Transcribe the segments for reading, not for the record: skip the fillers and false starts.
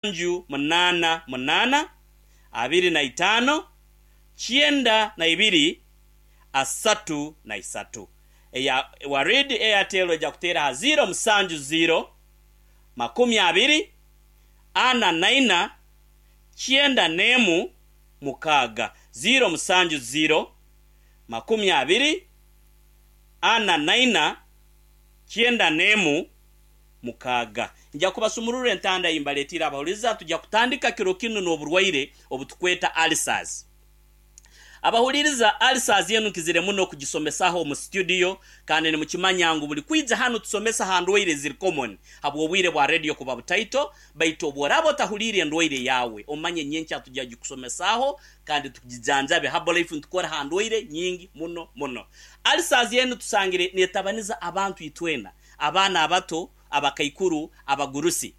Nju munaana munaana, 25, 92, 33. Eya Warid Airtel oija kuteera aha ziiro musanju ziiro, 20, 44, 96. Ziiro musanju ziiro, 20, 44, 96. Nja kubasumururra entanda ei mbaleetiire abahuriza. Tugya kutandika kiro kinu n'oburwaire obu tukweta ulcers. Abahuriiriza, ulcers enu nkizire muno kugisomesaho omu studio kandi nimukimanya ngu buri kwija hanu tusomesa ha ndwaire eziri common habw'obwire bwa radio kuba butaito, baitu obu oraaba otahuliire endwaire yaawe omanye nyenkya tugya gikusomesaaho kandi tugijanjabe. Herbalife nitukora ha ndwaire nyingi muno muno. Ulcers enu tusangire netabaniza abantu itwena. Abaana abato, abakaikuru, abagurusi.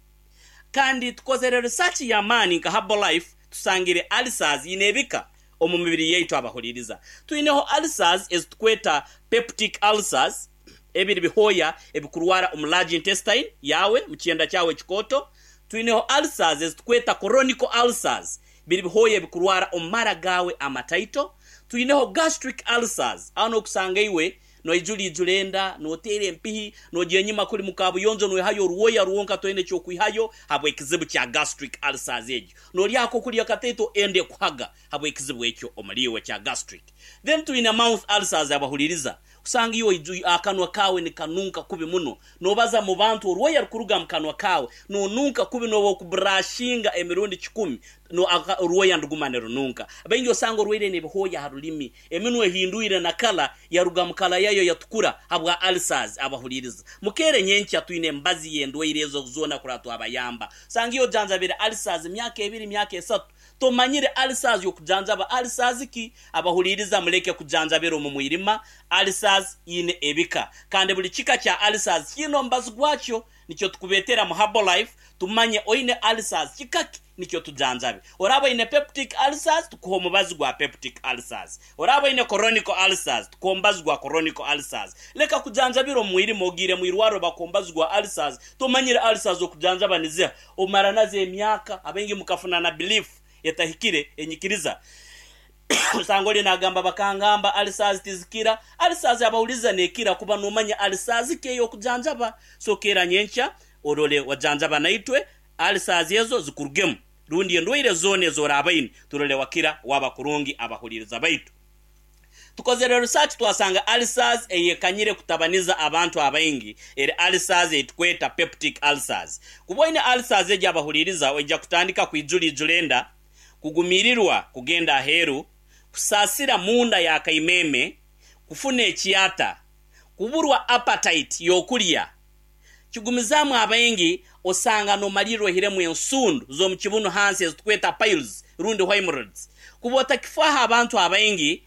Kandi tukozere research y'amaani nka Herbalife tusangire ulcers ine ebika omu mibiri yaitu abahuliriza. Twineho ulcers ezitukweta peptic ulcers, ebiri bihooya ebikurwara omu large intestine yaawe, mu kyenda kyawe ekikooto. Twineho ulcers ezitukweta chronic ulcers, biri bihooya ebikurwara omu mara gaawe amataito. Twineho gastric ulcers, aho nokusanga iwe Noijura ijura enda, noteera empihi, noija enyima kuri mu kabuyonjo noihayo orwoya rwonka toine ky'okwihayo habw'ekizibu kya gastric ulcers egyo. Norya akokurya kataito enda ekuhaga habw'ekizibu ekyo omuri iwe kya gastric. Then twine mouth ulcers abahuririza kusanga iwe akanwa kaawe nikanunka kubi muno, nobaza mu bantu orwoya rukuruga mu kanwa kaawe, nonunka kubi nobu okuburashinga emirundi kikumi orwoya niruguma nirununka. Baingi osanga orwaire n'ebihooya aha rurimi. Eminwa ehindwire na kala yaruga mu kala yayo yatukura habwa ulcers. Abahuliriza mukeere nyenkya twine emibazi y'endwaire ezo zoona kurora twabayamba. Osanga iwe ojanjabire ulcers myaka ebiri myaka esatu tomanyire ulcers y'okujanjaba ulcers ki? Abahuliriza muleke kujanjabira omu mwirima. Ulcers ine ebika kandi buli kika kya ulcers kiine omubazi gwakyo. Nikyo tukubeetera mu Herbalife tumanye oine ulcers kika ki nikyo tujanjabe. Oraaba oine peptic ulcers tukuhe omubazi gwa peptic ulcers. Oraaba oine chronic ulcers tukuhe omubazi gwa chronic ulcers. Leka kujanjabira omu mwirima ogiire mu irwariro bakuha omubazi gwa ulcers tomanyire ulcers okujanjaba niziha. Omara nazo emyaka abaingi mukafuna na belief etahikire enyikiriza. Osanga ori nagamba bakangamba ulcers tizikira. Ulcers abahuriza nekira kuba nomanya ulcers ki eyokujanjaba. So keera nyenkya orore wajanjaba naitwe ulcers ezo zikurugemu rundi endwaire zoona ezi orabaine turore wakira waba kurungi abahuririza baitu. Tukozere research twasanga ulcers eyekanyire kutabaniza abantu abaingi eri ulcers eyitukweta peptic ulcers. Kuba oine ulcers egi abahuririza oija kutandika kwijura ijura enda, kugumirirwa kugenda aheeru, kusaasira munda ya kaimeeme, kufuna ekyata, kuburwa appetite y'okurya. Kigumizaamu abaingi osanga nomalirra oihiremu ensundu z'omu kibunu hansi ezitukweta piles rundi hemorrhoids. Kuba otakifaaho abantu abaingi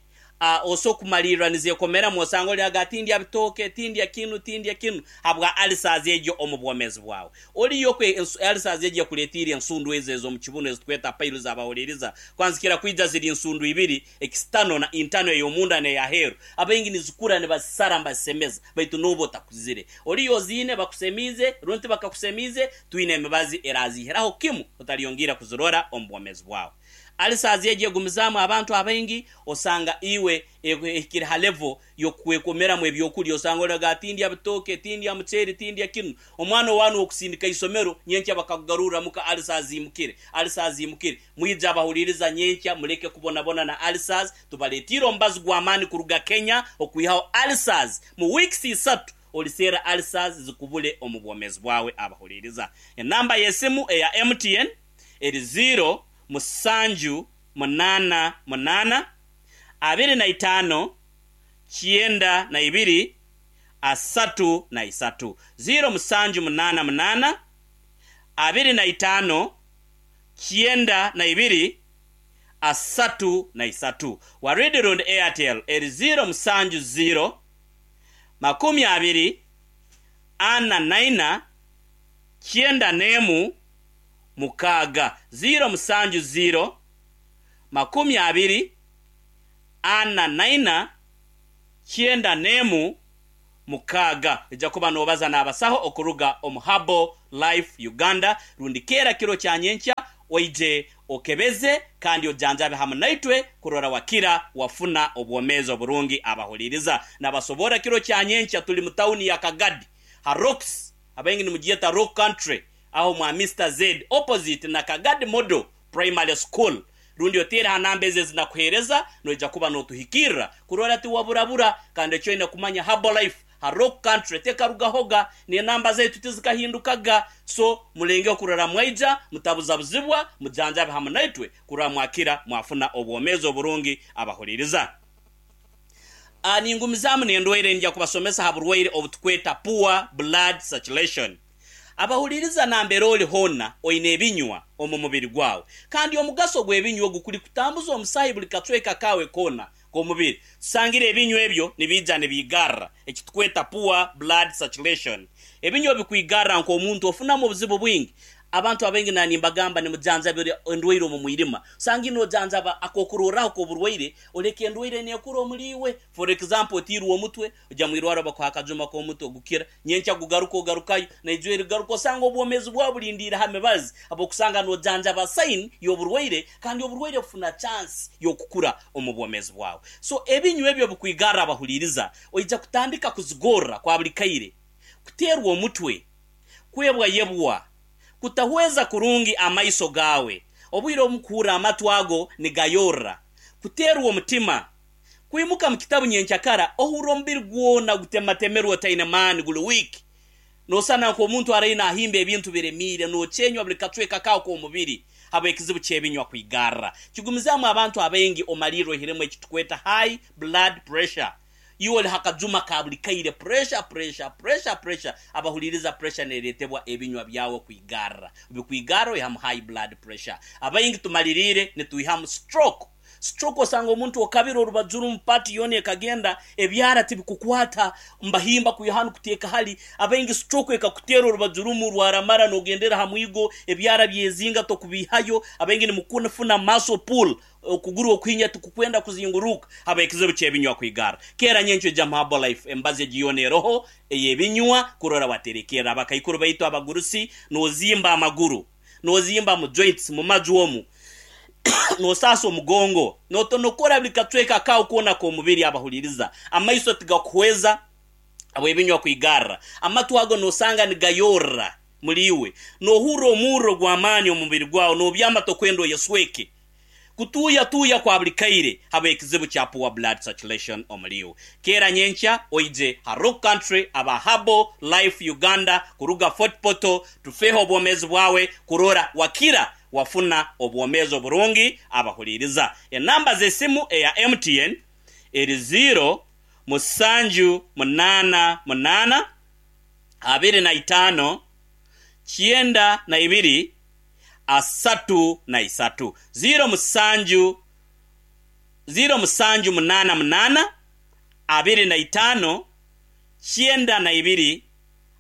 Oso kumalirra nizekomeramu osanga ori aga tindya bitooke, tindya kinu, tindya kinu habwa ulcers egyo omu bwomeezi bwawe. Oriyo kwe ulcers egyo ekuretiire ensundu ezo ez'omu kibunu ezitweta piles abahuriiriza kwanzikira kwija ziri nsundu ibiri, external na internal ey'omunda n'eyaheeru. Abaingi nizikura nibazisara nibazisemeza baitu nooba otakuzire. Oriyo oziine bakusemiize rundi tibakakusemiize, twine emibazi eraziihiraho kimu otalyongiira kuzirora omu bwomeezi bwawe. Ulcers egyo egumizaamu abantu abaingi osanga iwe ehikire ha level yokwekomeramu ebyokurya osanga oraga tindya bitooke, tindya muceeri, tindya kinu. Omwana owanu wokusindika isomero nyenkya bakakugarurra muka ulcers ziimukire, ulcers ziimukire. Mwije abahuliriza nyenkya muleke kubonabona na ulcers, tubaletiire omubazi gw'amaani kuruga Kenya okwihaho ulcers mu weeks isatu oliseera ulcers zikubule omu bwomezi bwawe abahuliriza. Enamba y'esimu eya MTN. eri ziiro musanju munaana munaana, 25, 92, 33. Ziiro musanju munaana munaana, 25, 92, 33. Waridi rundi Airtel eri ziiro musanju ziiro, 20, 44, 91, 6, 0 musanju 0 20 4 na ina 91 mukaaga. Oija kuba noobaza n'abasaho okuruga omu Herbal Life Uganda rundi keera kiro kya nyenkya oije okebeze kandi ojanjabe hamu naitwe kurora wakira wafuna obwomeezi oburungi. Abahuliriza nabasoborra kiro kya nyenkya tuli mu tawuni ya Kagadi ha Rocks abaingi nimugyeta Rock Country aho mwa Mister Z opposite na Kagadi Model Primary School rundi oteere ha namba ezi ezinakuheereza noija kuba notuhikirra kurora tiwaburabura kandi eki oine kumanya Herbal Life ha Rock Country tekarugahoga n'enamba zaitu tizikahindukaga so mulengeho kurora mwaija mutabuzabuzibwa mujanjabe hamu naitwe kurora mwakira mwafuna obwomeezi oburungi abahuliriza. A Ningumizaamu n'endwaire nja kubasomesa ha burwaire obutukweta poor blood circulation. Abahuliriza nambere oli hoona oine ebinywa omu mubiri gwawe. Kandi omugaso gw'ebinywa ogu kuli kutambuza omusaahi buli kacweka kaawe koona k'omubiri. Tusangire ebinywa ebyo nibiija nibiigarra, ekitukweta poor blood circulation. Ebinywa obikwigarra nk'omuntu ofunamu obuzibu bwingi. Abantu abaingi na nimbagamba nimujanjabira endwaire omu mwirima. Osanga nojanjaba akokurorraho k'oburwaire oleka endwaire nekura omuli iwe. For example otiirwe omutwe, Oja mwirwaro bakuha akajuma k'omutwe gukira, nyenkya gugaruka ogarukayo, naija erigaruka osanga obwomeezi bwawe bulindiire ha mibazi habw'okusanga nojanjaba sign y'oburwaire kandi oburwaire bufuna chance y'okukura omu bwomeezi bwawe. So ebinywa ebyo bikwigarra abahuliiriza, oija kutandika kuzigorra kwa buli kaire, kuteerwa omutwe, kwebwayebwa, kutahweza kurungi amaiso gaawe, obwire obumu kuhurra amatu ago nigayorra, kuteerwa omutima, Kwimuka mu kitabu nyenkyakara ohurra omubiri gwona gutematemerwe otaine maani guli wiiki. Noosana nk'omuntu araire naahimba ebintu biremiire, nookyenywa buli kacweka kaawe k'omubiri habw'ekizibu ky'ebinywa kwigarra. Kigumizaamu abantu abaingi omalirra oihiremu eki tukweta high blood pressure. Iwe oli ha kajuma ka buli kaire, pressure, pressure, pressure, pressure. Abahuliiriza pressure neereetebwa ebinywa byawe kwigarra. Bikwigarra oihamu high blood pressure. Abaingi tumaliriire nitwihamu stroke. Stroke osanga omuntu okabire orubaju rumu part yoona ekagenda, ebyara tibikukwata, mbahimba kwiha hanu kuteeka hali, abaingi stroke ekakuteera orubaju rumu rwaramara nogendera ha mwigo, ebyara byezinga tokubiihayo, abaingi nimukufuna muscle pull, okuguru okuhinya tikukwenda kuzinguruuka habw'ekizibu ky'ebinywa kwigarra. Keera nyenkyo ija mu Herbalife emibazi egi yoona eroho ey'ebinywa kurora waterekerra abakaikuru baitu abagurusi nozimba amaguru. Nozimba mu joints, mu maju omu, nosaasa omugongo, notonokora buli kacweka kaawe koona k'omubiri abahuliriza. Amaiso tigakuhweza habw'ebinywa kwigarra. Amatu ago nosanga nigayorra muli iwe. Nohurra omurro gw'amaani omu mubiri gwawe, nobyama tokwenda oyesweke. Kutuuya tuuya kwa buli kaire habw'ekizibu kya poor blood circulation omuri iwe. Keera nyenkya oije ha Rock Country aba Herbal Life Uganda kuruga Fort Portal tufeho obwomeezi bwawe kurora wakira wafuna obwomeezi oburungi abahuliiriza. Enamba z'esimu eya MTN eri ziiro musanju munaana munaana 25 92 33. 07 07 8 8 25 92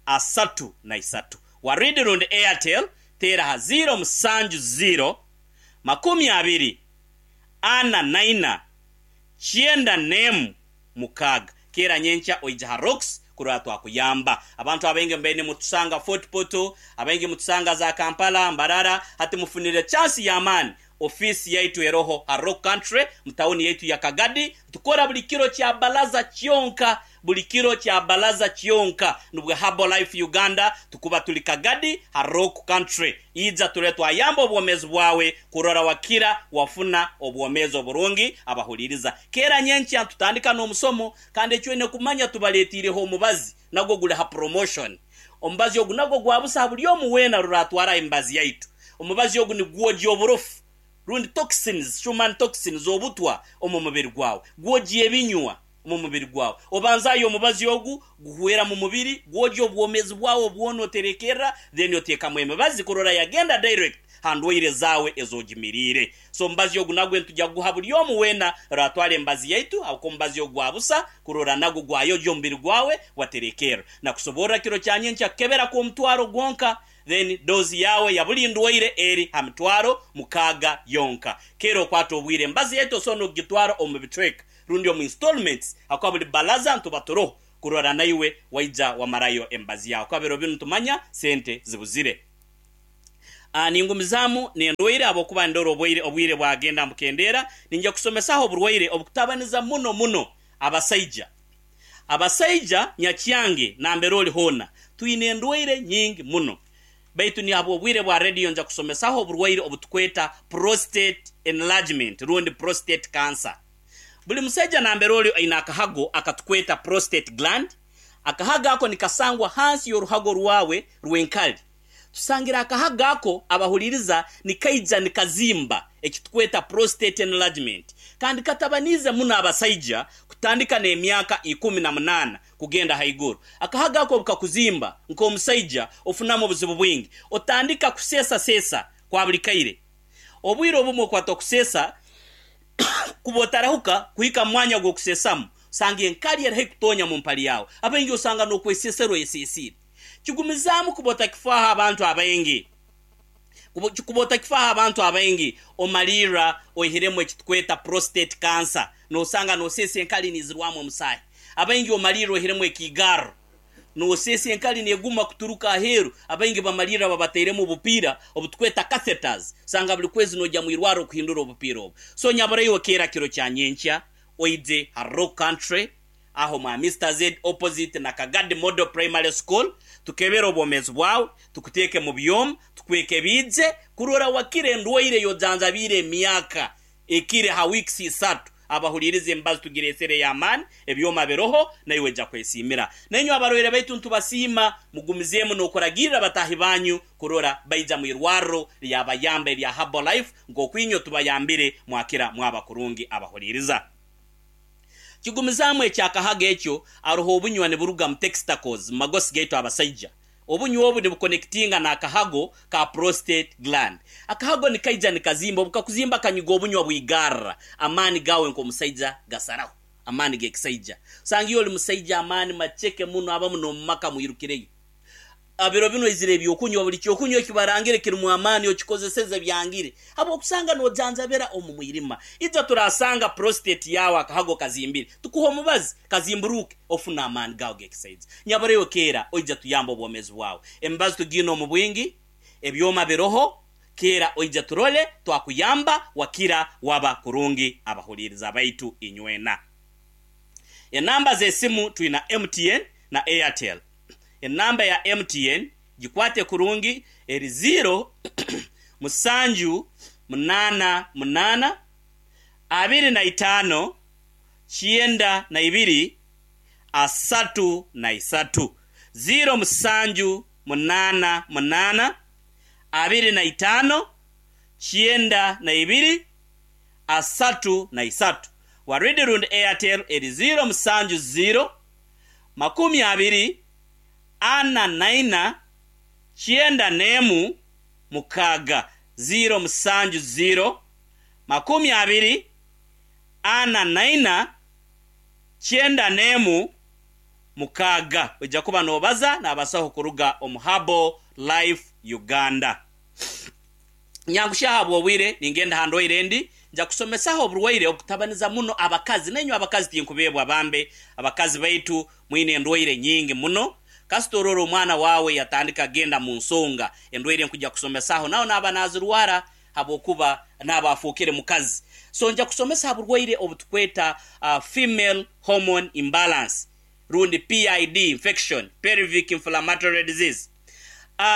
33. Waridi rundi Airtel teera aha 0 7 0 20 4 4 96. Keera nyenkya oije ha Rocks kurora twakuyamba. Abantu abaingi mubaire nimutusanga Fort Portal, abaingi mutusanga za Kampala, Mbarara, hati mufunire chance y'amaani. Ofiisi yaitu eroho ha Rock Country mu tawuni yaitu ya Kagadi. Tukora buli kiro kya balaza kyonka, buli kiro kya balaza kyonka. Nubwo Herbal Life Uganda tukuba tuli Kagadi ha Rock Country. Ija turole twayamba obwomeezi bwawe kurora wakira wafuna obwomeezi oburungi. Abahuliiriza, keera nyenkya nitutandika n'omusomo kandi eki oine kumanya tubaletiireho omubazi nagwo guli ha promotion. Omubazi ogu nagwo gwa busa ha buli omu weena rora atwara emibazi yaitu. Omubazi ogu nigwogya oburofu rundi toxins, human toxins, obutwa omu mubiri gwawe. Gwogya ebinywa. omu mubiri gwawe. Obanzaayo omubazi ogu guhwera mu mubiri, gwogya obwomeezi bwawe bwona oterekerra then oteekamu emibazi kurora yagenda direct ha ndwaire zaawe ez'ogimiriire. So omubazi ogu nagwe nitugya kuguha buli omu weena oraatwara emibazi yaitu habwokuba omubazi ogu gwa busa kurora nagwo gwayogya omubiri gwawe waterekerra. Nakusoborra kiro kya nyenkya kukebera kw'omutwaro gwonka then dose yaawe ya buli ndwaire eri ha mitwaro mukaaga yonka. Keera okwate obwire emibazi yaitu osobola n'okugitwara omu bicweka rundi omu installments ahakuba buli balaza nituba turoho. kurora naiwe waija wamarayo emibazi yaawe kuba biro binu tumanya sente zibuzire. Ningumizaamu n'endwaire ahabw'okuba nindora obwaire obwire bwagenda nibukendeera, niinyija kusomesaho oburwaire obukutabaniza muno muno abasaija. Abasaija nyakyange nambere ori hoona twine endwaire nyingi muno baitu ni ahabw'obwire bwa rediyo nja kusomesaho oburwaire obutukweta prostate enlargement rundi prostate cancer. Buli musaija nambere ori aine akahago akatukweta prostate gland, akahago ako nikasangwa hansi y'oruhago rwawe rw'enkari. Tusangire akahago ako abahuliriza nikaija nikazimba ekitukweta prostate enlargement kandi katabaniize muno abasaija kutandika n'emyaka 18 kugenda haiguru. Akahago ako obukakuzimba nk'omusaija ofunamu obuzibu bwingi. Otandika kuseesaseesa kwa buli kaire. Obwire obumwe okwata okuseesa kuba otarahuka kuhika mu mwanya gw'okuseesamu osanga enkari eri haihi kutonya mu mpali yaawe. Abaingi osanga n'okwesesera oyeseesiire. Kigumizaamu kuba otakifaaho abantu abaingi. Kuba otakifaaho abantu abaingi, omalirra oihiremu eki tukweta prostate cancer. Noosanga nooseesa enkari niizirwamu omusaahi. Abaingi omalirra oihiremu ekiigarro. Nooseesa enkari neeguma kuturuka aheeru. Abaingi bamalirra babatairemu obupiira obu tukweta catheters. Osanga buri kwezi noija mu irwarro kuhindura obupiira obu. So nyabura iwe keera kiro kya nyenkya oije ha Rock Country. Aho mwa Mister Z opposite na Kagadi Model Primary School, tukebere obwomeezi bwawe, tukuteeke mu byoma, tukwekebiije kurora wakira endwaire ey'ojanjabiire emyaka ekire ha weeks isatu. Abahuliiriza emibazi tugireesere ey'amaani, ebyoma biroho, naiwe oija kwesiimira. Nainywe abarwaire baitu nitubasiima, mugumizeemu n'okuragirra bataahi banyu kurora baija mu irwarro lyabayamba erya Herbalife nk'oku inywe tubayambire mwakira mwaba kurungi. Abahuliiriza. Kigumizaamu eky'akahago ekyo, aroho obunywa niburuga mu textacles, mu magosi gaitu abasaija. Obunywa obu nibukonekitinga n'akahago ka prostate gland. Akahago nikaija nikazimba, obu kakuzimba kanyiga obunywa bwigarra, amaani gaawe nk'omusaija gasaraho, amaani g'ekisaija. Osanga iwe oli musaija amaani maceke muno, abamu n'omu maka mwirukireyo. Biro binu oizire eby'okunywa, buli ky'okunywa eki barangire kirimu amaani okikozeseze byangire habw'okusanga nojanjabira omu mwirima. Ija turasanga prostate yaawe akahago kazimbire, tukuhe omubazi kazimburuuke ofune amaani gaawe g'ekisaija. Nyabura iwe keera oija tuyambe obwomeezi bwawe. Emibazi tugiine omu bwingi, ebyoma biroho, keera oija turole twakuyamba wakira waba kurungi abahuliiriza baitu inywena. Enamba z'esimu twina MTN na Airtel. Enamba ya MTN gikwate kurungi eri ziiro musanju munaana munaana 25 92 33. Ziiro musanju munaana munaana 25 92 33. Waridi rundi Airtel eri ziiro musanju ziiro 24 91 6, 0 7 0 24 91 6. Oija kuba noobaza n'abasaho kuruga omu Herbal Life Uganda. Nyangushya ahabw'obwire, ningenda aha ndwaire endi. Nja kusomesaho oburwaire obukutabaniza muno abakazi. Nainywe abakazi tinkubeebwa bambe. Abakazi baitu mwine endwaire nyingi muno. Kasita orora omwana waawe yatandika kugenda mu nsonga, endwaire nkuja kusomesaho nawe naaba nazirwara habwokuba naaba afookere mukazi. So nja kusomesa ha burwaire obutukweta female hormone imbalance rundi PID infection, pelvic inflammatory disease.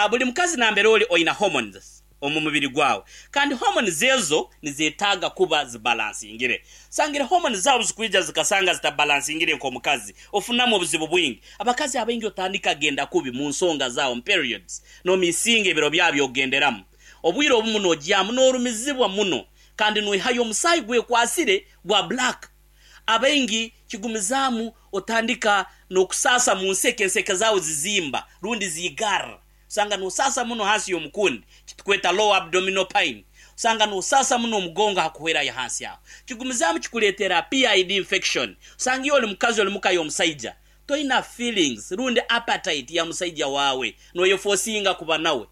Buli mukazi nambere ori oina hormones omu mubiri gwawe kandi hormones ezo nizetaaga kuba zibalansingire. Sangire hormones zaawe obuzikwija zikasanga zitabalansingire nk'omukazi ofunamu obuzibu bwingi. Abakazi abaingi otandika genda kubi mu nsonga zaawe omu periods nomisinga ebiro byawe by'okugenderamu. Obwire obumu nogyamu norumizibwa muno kandi noihayo omusaayi gwekwasire gwa black. Abaingi kigumizaamu otandika n'okusaasa mu nseke, enseke zaawe zizimba rundi ziigarra. Osanga nosaasa muno hansi y'omukundi, kitukweta lower abdominal pain. Osanga nosaasa muno omugongo hakuhwerayo hansi aho. Kigumizaamu kikuleetera PID infection. Osanga iwe oli mukazi oli muka y'omusaija, toina feelings rundi appetite ya musaija waawe, noyefosinga kuba nawe.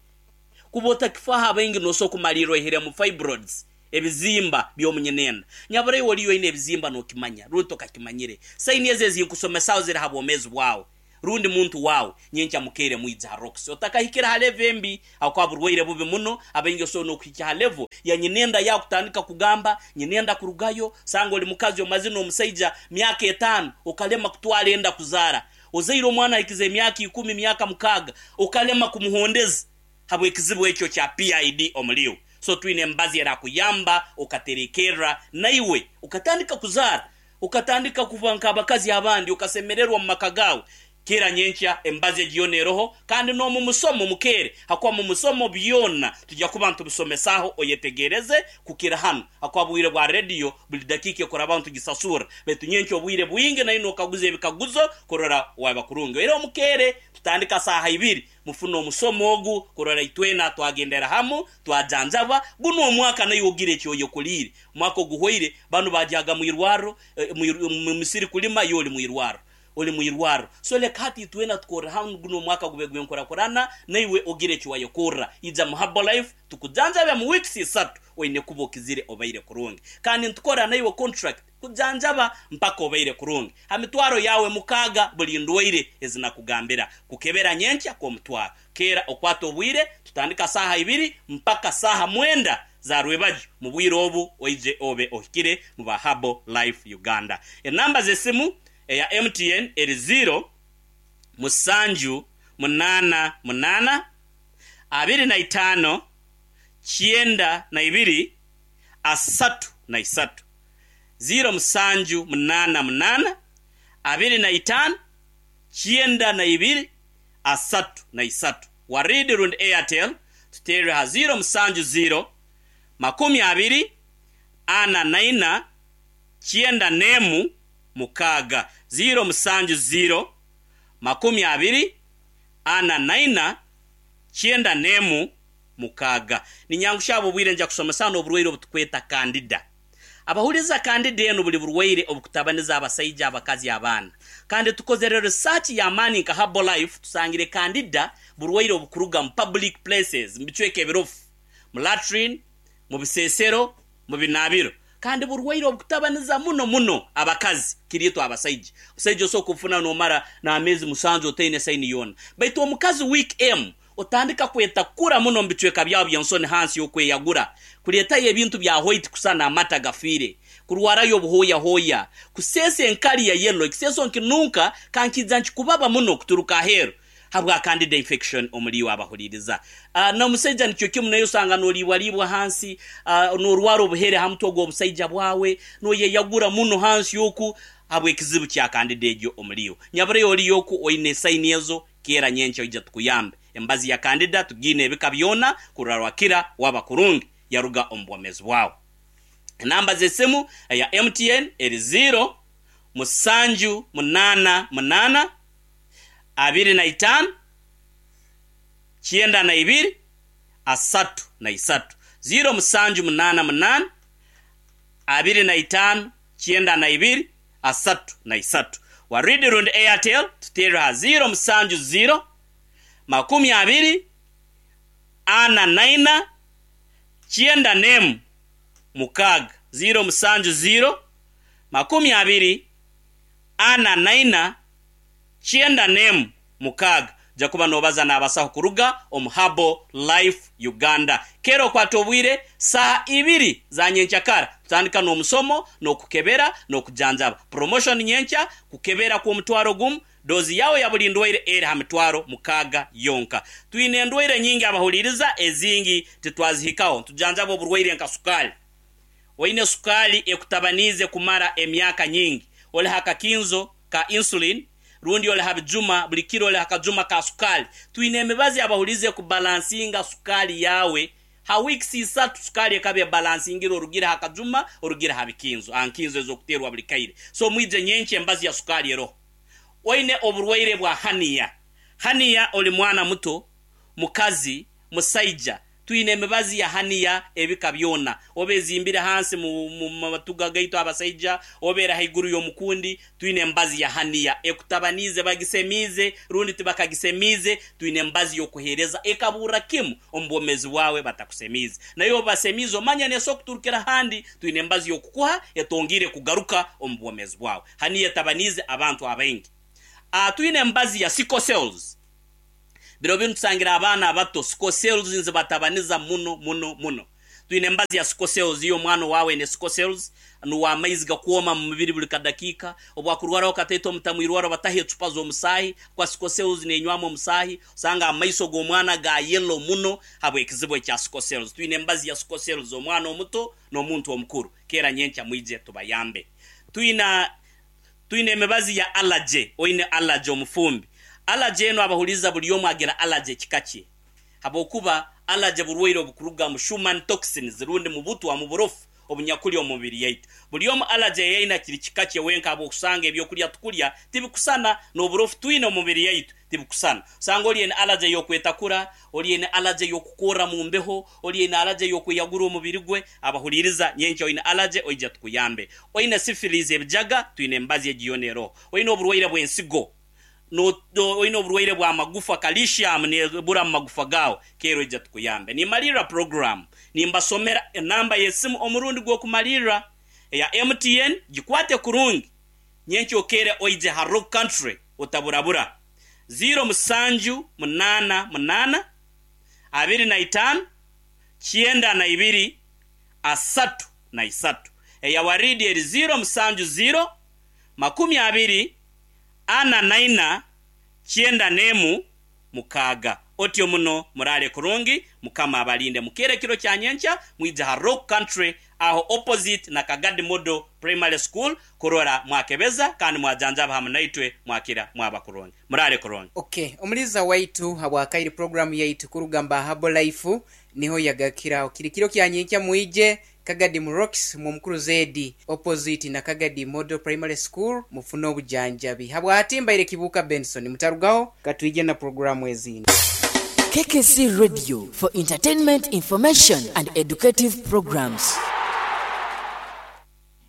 Kuba otakifaaho abaingi nosobola kumaliirra oihiremu fibroids. Ebizimba by'omu nyinenda. Nyabura iwe oriyo oine ebizimba nokimanya rundi tokakimanyire. Sayini ezo ezinkusomesaho ziri ha bwomezi bwawe rundi muntu wawe. Nyenkya mukeere mwije ha Roxy. Otakahikire ha level embi ahakuba burwaire bubi muno. Abaingi osobola nokuhikya ha level ya nyinenda yawe kutandika kugamba nyinenda kurugayo. Sanga oli mukazi omazire nomusaija myaka etano okalema kutwara enda kuzaara. Ozaire omwana ahikize emyaka ikumi, myaka mukaaga okalema kumuhondeza. Habw'ekizibu ekyo kya PID omuri iwe. So twine emibazi erakuyamba okaterekerra naiwe okatandika kuzaara, okatandika kuba nk'abakazi abandi, okasemererwa omu maka gaawe. Kera nyenkya emibazi egi yoona eroho kandi n'omu musomo mukeere hakuba mu musomo byona tujya kuba nitubisomesaho oyetegereze kukira hanu hakuba bwire bwa rediyo buli dakiika ekurabaho nitugisasurra baitu nyenkya obwire bwingi naiwe nokaguza ebikaguzo kurora waba kurungi. Oihireho mukeere tutandika saaha ibiri Mufune omusomo ogu kurora itwena twagendera hamu twajanjabwa. Gunu omwaka naiwe ogire eki oyekoliire. Omwaka oguhwaire banu bagyaga mwirwarro, mu misiri kulima iwe oli mwirwarro. Oli mwirwarro. So leka hati itwena tukorre hamu gunu omwaka gube gw'enkurakurana naiwe ogire eki wayekorra. Ija mu Herbalife tukujanjabe mu weeks isatu oine kuba okizire obaire kurungi. Kandi nitukora naiwe contract. Kujanjaba mpaka obaire kurungi. Ha mitwaro yaawe mukaaga buli ndwaire ezi nakugambira. Kukebera nyenkya kw'omutwaro. Keera okwate obwire, tutandika saaha ibiri mpaka saaha mwenda za rwebagyo. Mu bwire obu oije obe ohikire mu ba Herbal Life Uganda. Enamba z'esimu eya MTN eri ziiro, musanju, munaana, munaana, 25, 92, 33. Ziiro musanju munaana munaana, 25, 92, 33. Warid rundi Airtel tuteerere ha ziiro musanju ziiro, 20, 44, 91, 6. Ziiro musanju ziiro, 20, 44, 91, 6. Ninyangushya ahabw'obwire nja kushomesa hanu oburwaire obutukweta Candida. Abahuriza Candida enu buli burwaire obukutabaniza abasaija, abakazi, abaana. Kandi tukozere research y'amaani nka Herbalife tusangire Candida burwaire obukuruga mu public places, mu bicweka ebirofu, mu latrine, mu bisesero, mu binaabiro. Kandi burwaire obukutabaniza muno muno abakazi kiri itwe abasaija. Omusaija osobola kubufuna nomara n'ameezi musanju otaine saini yoona. Baitu omukazi week emu Otandika kwetakura muno omu bicweka byawe by'ensoni hansi y'okweyagura, kuleetayo ebintu bya hwaiti kusana amata gafiire, kurwarayo obuhooyahooya, kuseesa enkari ya yellow, ekiseeso nkinunka kankiija nkikubaba muno kuturuka aheeru habwa candida infection omuri iwe abahuriiriza. N'omusaija nikyo kimu naye osanga noliibwaliibwa hansi, norwara obuhere ha mutwe gw'obusaija bwawe, noyeyagura muno hansi oku habw'ekizibu kya candida egyo omuri iwe. Nyabureyo oriyo oku oine sayini ezo, Keera nyenkya oije tukuyambe. Embazi ya Candida tugiine ebika byona kurora wakira waba kurungi yaruga omu bwomezi bwawe. Enamba z'esimu eya MTN eri ziiro, musanju munaana munaana, 25, 92, 33. Ziiro musanju munaana munaana, 25, 92, 33. Waridi rundi Airtel tuteerere ha 0 7 0 20 44 91 6. 0 7 0 20 44 91 6. Oija kuba noobaza n'abasaho kuruga omu Herbal Life Uganda. Keera okwate obwire, saaha ibiri za nyenkyakara tutandika n'omusomo, n'okukebera, n'okujanjaba. Promotion nyenkya, kukebera kw'omutwaro gumu, doozi yaawe ya buli ndwaire eri ha mitwaro mukaaga yonka. Twine endwaire nyingi abahuliiriza, ezingi titwazihikaho. Nitujanjaba oburwaire nka sukaali. Oine sukaali ekutabaniize kumara emyaka nyingi, oli ha kakinzo ka insulin, rundi oli ha bijuma, buli kiro oli ha kajuma ka sukaali. Twine emibazi abahulize kubalansinga sukaali yaawe. Ha weeks isatu sukaali ekaba ebalansingire orugire ha kajuma, orugire ha bikinzo, ha nkinzo ez'okuteerwa buli kaire. So mwije nyenkya embazi ya sukaali eroho. Oine oburwaire bwa hernia. Hernia oli mwana muto, mukazi, musaija. Twine emibazi ya haniya ebika byona, oba ezimbire hansi mu mu matuga gaitu abasaija, oba eri haiguru y'omukundi, twine emibazi ya haniya ekutabaniize, bagisemiize rundi tibakagisemiize, twine emibazi y'okuheereza ekaburra kimu omu bwomeezi bwawe batakusemiize. Nayo obu basemiize omanya neesobora kuturukira handi, twine emibazi y'okukuha etongiire kugaruka omu bwomeezi bwawe. Haniya etabaniize abantu abaingi. A Twine emibazi ya sickle cells. Biro binu tusangire abaana abato sickle cells nizibatabaniza muno muno muno. Twine emibazi ya sickle cells, iyo omwana owaawe aine sickle cells, nuwe amaizi gakwoma mu mubiri buli kadakiika, obu akurwaraho kataito omutamu irwaro bataho ecupa z'omusaahi, kwa sickle cells nenywamu omusaahi, osanga amaiso g'omwana ga yellow muno habw'ekizibu ekya sickle cells. Twine emibazi ya sickle cells omwana omuto n'omuntu omukuru. Keera nyenkya mwije tubayambe. Twina Twine emibazi ya allergy, oine allergy omufumbi. Allergy enu abahuliiriza buli omu agira allergy ekika kye. Habwokuba allergy burwaire obukuruga mu Schumann toxins rundi mu butwa mu burofu obunyakuli omu mubiri yaitu. Buli omu allergy eyaine kiri kika kye wenka habwokusanga ebyokulya tukulya tibikusana n'oburofu twine omu mubiri yaitu tibukusana. Osanga oli aine allergy ey'okwetakura, oli aine allergy ey'okukorra mu mbeho, oli aine allergy ey'okweyagura omubiri gwe. Abahuliiriza, nyenkya oine allergy oije tukuyambe. Oine syphilis, ebijaga, twine emibazi egi yoona eroho. Oine oburwaire bw'ensigo, no, oine oburwaire bw'amagufa, calcium nebura mu magufa gaawe, keera oije tukuyambe. Nimmalirra puroguraamu nimbasomera enamba y'esimu omurundi gw'okumalirra eya MTN, gikwate kurungi. Nyenkya okeere oije ha Rock Country otaburabura. Ziiro musanju munaana munaana, 25, 92, 33. Eya Waridi eri ziiro musanju ziiro, 20, 44, 91, 6. Otyo muno muraale kurungi, Mukama abalinde. Mukeere ekiro kya nyenkya mwije ha Rock Country aho opposite na Kagadi Model Primary School kurora mwakebeza kandi mwajanjaba hamu naitwe mwakira mwaba kurungi. Muraale kurungi. Ok omuliza waitu habwakaire program yaitu kuruga mba Herbal Life niho yagakiraho kiri kiro kya nyenkya mwije Kagadi mu Rocks mwomukuru Zedi opposite na Kagadi Model Primary School mufune obujanjabi. Habwati mbaire Kibuuka Benson mutarugaho katwije na program ezindi. KKC Radio for entertainment, information and educative programs.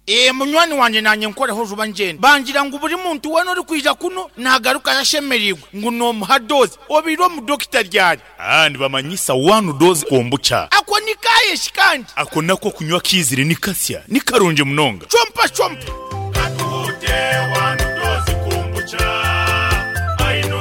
Ee, munywani wangye naanye nkoreho juba ngyende. Bangira ngu buri muntu weena orikwija kunu naagarukayo ashemereirwe ngu noomuha doozi. Obaire omudokita ryari? Aa, nibamanyisa one dose kombucha. Ako ni kaaye shi kandi? Ako nako okunywa kaizire ni kasya, ni karungi munonga. Chompa chompa. Katuhute one dose kombucha.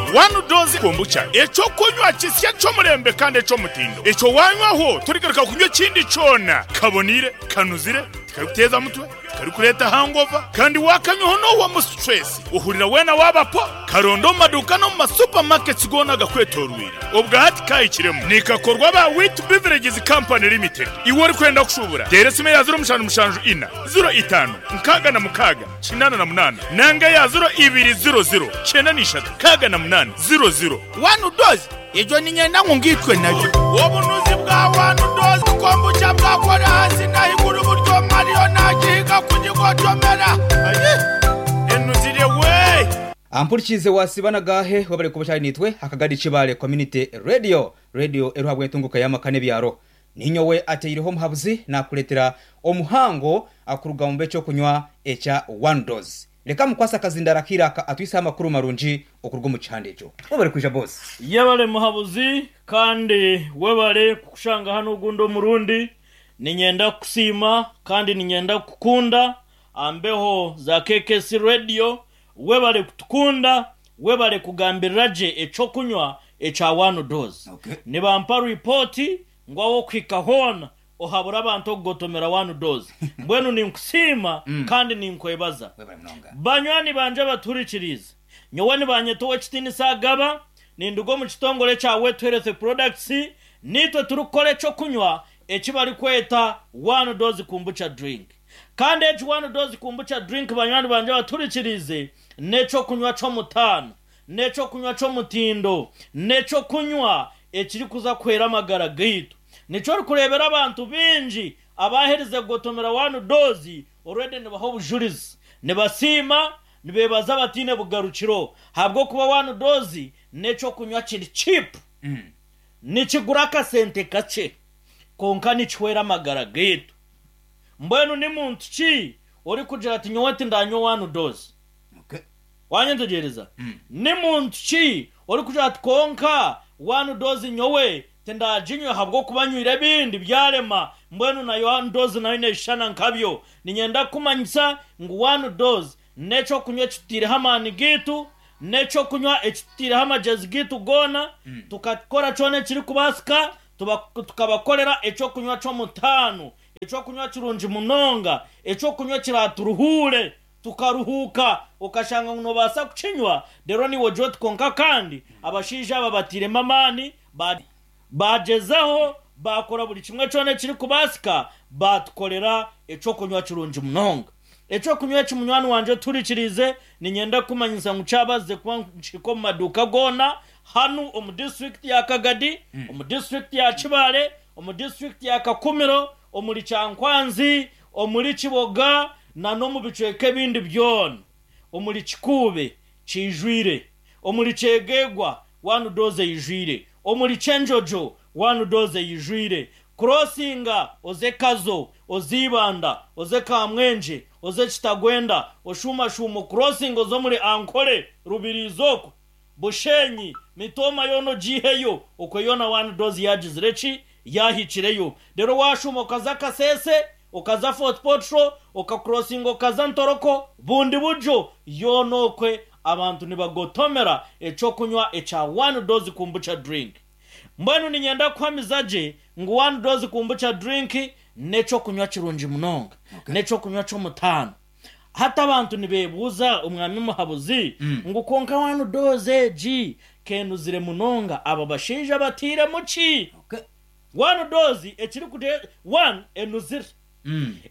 One dose kombucha, eky'okunywa kisya eky'omurembe kandi eky'omutindo. Ekyo waanywaho torigaruka kunywa ekindi kyona. Kaboniire, kanuzire. Tikarikuteeza mutwe, tikarikureeta hangover, kandi waakanywaho noohwamu situresi, ohurira weena waaba po. Karonde omu maduuka n'omu ma supermarkets goona agakwetooroire. Obwa hati kaahikiremu. Nikakorwa aba Wheat Beverages Company Limited. Iwe orikwenda kushuubura, teera esimu eya 0774, 05, 66, 88 nanga eya 0200, 93, 68, 00. One dose Egyo niinyenda ngu ngaitwe nayo. Obunuzi bwa One Dose Kombucha bwakora ahansi n'ahaiguru buri omwe ariyo naagihiga kugigotomera. Ayi! Enuzire we! Ampurikiize wasiiba na gaahe webare kuba okyari naitwe aha Kagadi Kibaale Community Radio, Radio eriho ahabw'entunguka y'amaka n'ebyaro. Ninyowe ateireho omuhabuzi nakureetera omuhango kuruga omu b'ekyokunywa ekya One Dose. Reka mukwase akazindaro akaire aka atwiseho amakuru marungi okuruga omu kihanda ekyo. Webare kwija boss. Yebare muhabuzi kandi webare kukushanga hanu ogundi omurundi. Ninyenda kukusiima kandi ninyenda kukukunda aha mbeho za KKC Radio. Webare kutukunda, webare kugambirira gye ekyokunywa ekya One Dose. Nibampa ripooti ngu ah'okuhika hoona Ohabura abantu okugotomera one dose. Mbwenu ninkusiima kandi ninkwebaza. Banywani bangye abatuhurikiriize, nyowe nibanyeta Owekitiinisa Agaba, ninduga omu kitongore ekya Wetu Health Products, niitwe turikukora ekyokunywa eki barikweta One Dose Kombucha Drink. Kandi egi One Dose Kombucha Drink banywani bangye abatuhurikiriize, n'ekyokunywa ky'omutaano, n'ekyokunywa ky'omutindo, n'ekyokunywa ekirikuza kuhwera amagara gaitu. Nikyo orikureebera abantu baingi abaaherize kugotomera one dose already nibaha obujurizi, nibasiima, nibeebaza bataine bugarukiro ahabw'okuba one dose n'eky'okunywa kiri cheap, nikigura akasente kakye. Kwonka nikihwera amagara gaitu. Mbwenu ni muntu ki orikugira ati nyowe tindanywa one dose? Okay. Wanyetegyereza? Ni muntu ki orikugira ati kwonka one dose nyowe tindaginywa ahabw'okuba nywire ebindi byarema, mbwenu nayo one dose nayo neeshushana nkabyo. Niinyenda kukumanyisa ngu one dose n'eky'okunywa eki tutaireho amaani gaitu, n'eky'okunywa eki tutaireho amagyezi gaitu goona, tukakora kyona ekirikubaasika tukabakorera eky'okunywa ky'omutaano, eky'okunywa kirungi munonga, eky'okunywa ekiraaturuhuure tukaruhuuka, okashanga ngu noobaasa kukinywa reero naiwe ogire oti kwonka kandi abashaija aba batairemu amaani, baagyezaho, baakora buri kimwe kyona ekirikubaasika, baatukorera eky'okunywa kirungi munonga. Eky'okunywa eki munywani wangye otuhurikiriize, niinyenda kukumanyisa ngu kyabaasize kuba nikihika omu maduuka goona hanu omu disiturikiti ya Kagadi, omu disiturikiti ya Kibaale, omu disiturikiti ya Kakumiro, omuri Kyankwanzi, omuri Kiboga n'omu bicweka ebindi byona. Omuri Kikuube kiijwire, omuri Kyegegwa one dose eijwire, omuri Kyenjojo one dose eijwire. Kurosinga oze Kazo, oze Ibanda, oze Kamwengye, oze Kitagwenda, oshuumashuuma okurosinga oze omuri Ankole, Rubirizi okwo, Bushenyi, Mitooma yoona ogiiheyo, okwo yoona one dose yaagizire ki? Yaahikireyo. Reero waashuuma okaza Kasese, okaza Fort Portal, okakurosinga okaza Ntoroko, Bundibugyo, yoona okwe abantu nibagotomera eky'okunywa ekya one dose kombucha drink. Mbwenu niinyenda kuhamiza gye ngu one dose kombucha drink n'eky'okunywa kirungi munonga, n'eky'okunywa ky'omutaano. Hati abantu nibeebuuza Omwami Muhabuzi ngu kwonka one dose egi k'enuzire munonga aba bashaija batairemu ki? One dose ekirikute one enuzire.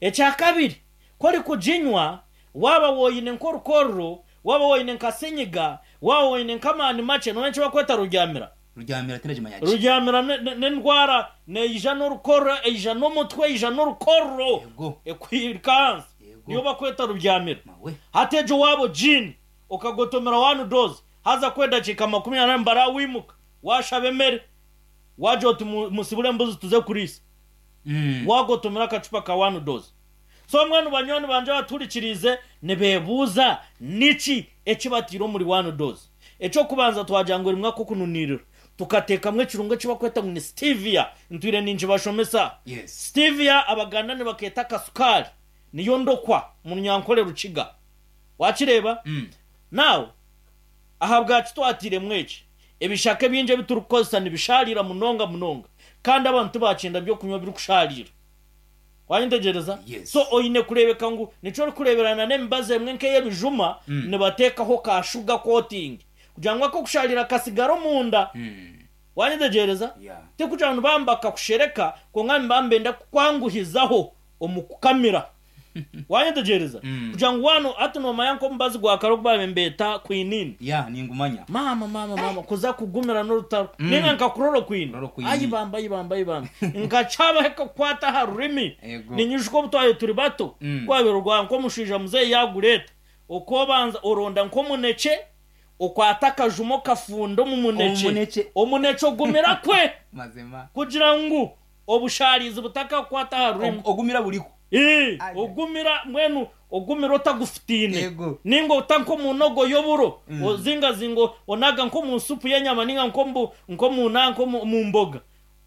Ekyakabiri ku orikuginywa waaba woine nk'orukororo, waaba woine nka senyiga, waaba woine nk'amaani makye noomanya eki barikweta ruryamira? Ruryamira tindagimanya gye. Ruryamira n'endwara neija n'orukororo, eija n'omutwe, eija n'orukororo Yego. ekuhika ahansi. Yego. Niyo barikweta ruryamira. Mawe. Hati egyo waaba ogiine okagotomera one dose haza ku edakiika 40 nibaraawimuka waashaba emere. Waagira oti, Musibure embuzi tuze kuriisa. Waagotomera akacupa ka one dose. So mbwenu banywani bangye abatuhurikiriize nibeebuuza niki eki bataire omuri one dose. Eky'okubanza twagira ngu erimu ak'okununiirira. Tukateekamu ekirungo eki barikweta ngu ni stevia. Ntwire ninkibashomesa. Stevia Abaganda nibakeeta akasukaari. Niyo ndokwa omu Runyankore Rukiga. Waakireeba? Now. Ahabwaki twatairemu eki? Ebishaka ebingi ebi turikukozesa nibishaariira munonga munonga kandi abantu tibakyenda by'okunywa ebirikushaariira. Wanyetegyereza? Yes. So oine kureebeka ngu nikyo orikureeberana n'emibazi emwe nk'ey'ebijuma nibateekaho ka sugar coating kugira ngu ak'okushaariira kasigare omunda. Wanyetegyereza? Yeah. Tikugira ngu nibaba nibakakushereka kwonka nibaba nibenda kukwanguhizaho omu kukamira. Wanyetegyereza? Kugira ngu waano hati noomanya nk'omubazi gwa kare ogu baabaire nibeeta quinine. Yeah, ningumanya. Maama, maama, maama, kuza kugumira n'orutaro. Nainga nka chloroquine. Chloroquine. Ai bambe, ai bambe, ai bambe. Nka kyabaho ekakukwata aha rurimi. Ego. Ninyijuka obu twabaire turi bato, ku waabaire orwara nk'omushaija muzeeyi yaagureeta, okoobanza oronda nk'omunekye, okwata akajuma okafunda omu munekye. Omunekye. Omunekye ogumira kwe. Mazima. Kugira ngu Obushaarizi butakakukwata aha rurimi. Ogumira buriho. Ii, Ogumira, mbwenu ogumira otagufutaine. Yego. Nainga ota nk'omu nogo y'oburo, ozingazinga onaga nk'omu supu y'enyama nainga nk'omu nk'omu nanka omu mboga.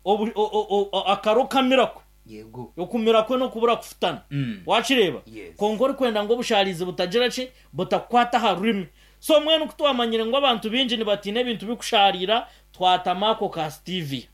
Obu o o o akaro kamira kwe. Yego. Okumira kwe n'okubura kufutana. Waakireeba? Yes. Kwonka orikwenda ngu obushaarizi butagira ki? Butakukwata aha rurimi. So mbwenu ku twamanyire ngu abantu baingi nibatiina ebintu birikushaariira, twatamu ako ka stevia.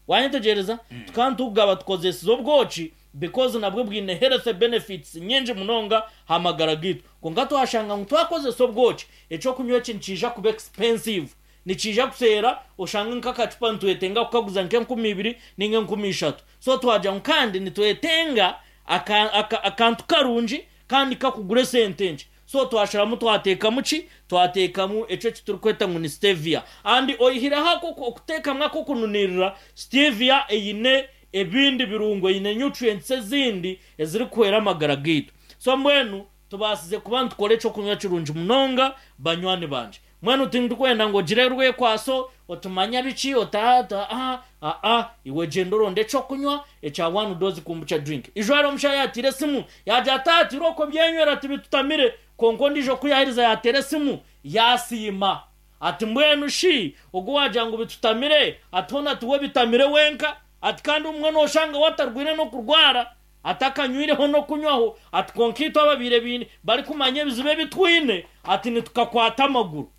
Wanyetegyereza? Tukaba nitukugaba tukozesize obwoki because nabwo bwine health benefits nyingi munonga aha magara gaitu. Kwonka twashanga ngu twakozesa obwoki, ekyokunywa eki nikiija kuba expensive. Nikiija kuseera oshange nk'akacupa nitwetenga kukaguza nk'enkumi ibiri ninga enkumi ishatu. So twagira ngu kandi nitwetenga aka aka akantu karungi kandi kakugura esente nkye. So twasharamu twateekamu ki? Twateekamu ekyo eki turikweta ngu ni stevia. And oihireho ako okuteekamu ak'okununiirira, stevia eine ebindi birungo, eine nutrients ezindi ezirikuhwera amagara gaitu. So mbwenu tubaasize kuba nitukora eky'okunywa kirungi munonga banywani bangye. Mbwenu tindikwenda ngu ogire rwekwaso. Otumanya biki ota a a a iwe gyenda oronde ekyokunywa ekya one dose kombucha drink. Ijo hariho omushaija yateire esimu yagira ati ati okwo byenywera tibitutamire kwonka ondiijo ku yaaherize yaateera esimu yaasiima ati mbwenu shi ogu waagira ngu bitutamire ati hoona tiwe bitamire wenka ati kandi obumwe nooshanga we atarwaire n'okurwara atakanywireho n'okunywaho ati kwonka itwe ababaire baine barikumanya ebizibu ebi twine ati nitukakwata amaguru.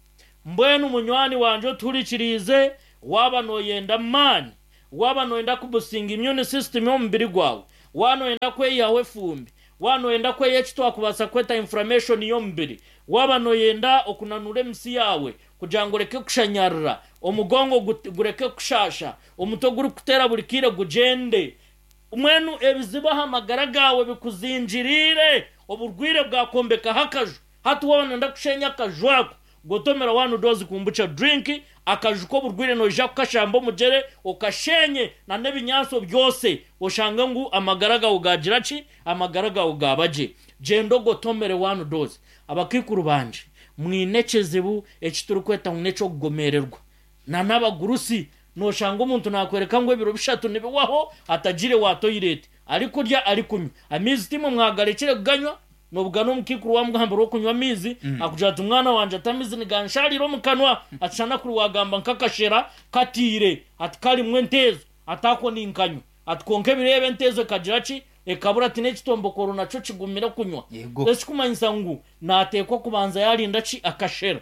Mbwenu munywani wangye otuhurikiriize, waaba nooyenda amaani, waaba nooyenda kubusinga immune system y'omubiri gwawe, waaba nooyenda kweyihaho efumbi, waaba nooyenda kweyihaho eki twakubaasa kweta inflammation y'omubiri, waaba nooyenda okunanuura emisi yaawe kugira ngu oreke kushanyarara, omugongo gureke kukushaasha, omutwe ogurikukuteera buri kaire gugyende, Mbwenu ebizibu aha magara gaawe bikuzingiriire, oburwaire bwakwombekaho akaju. Hati waaba nooyenda kusheenya akaju ako, gotomera one dose kombucha drink, akaju k'oburwaire noija kukashamba omugyere okasheenye na n'ebinyaatsi obyose oshange ngu amagara gaawe gaagira ki? Amagara gaawe gaaba gye. Gyenda ogotomere one dose. Abakaikuru bangye, mwine ekizibu eki turikweta ngu n'eky'okugomeererwa. Na n'abagurusi, nooshanga omuntu naakworeka ngu ebiro bishatu nibiwaho atagiire wa toilet, arikurya arikunywa. Amaizi timwe mwagarekire kuganywa, noobugana omukaikuru waamugambira okunywa amaizi, akugira ati mwana wangye ati amaizi niganshaarira omu kanwa, ati shana kuri waagamba nk'akashera katiire, ati karimu enteezo, ati ako ninkanywa. Ati kwonka ebiro ebi enteezo ekagira ki? Ekabura ati n'ekitombokoro nakyo kigumire kunywa. Ekikumanyisa ngu naateekwa kubanza yaarinda ki? Akashera.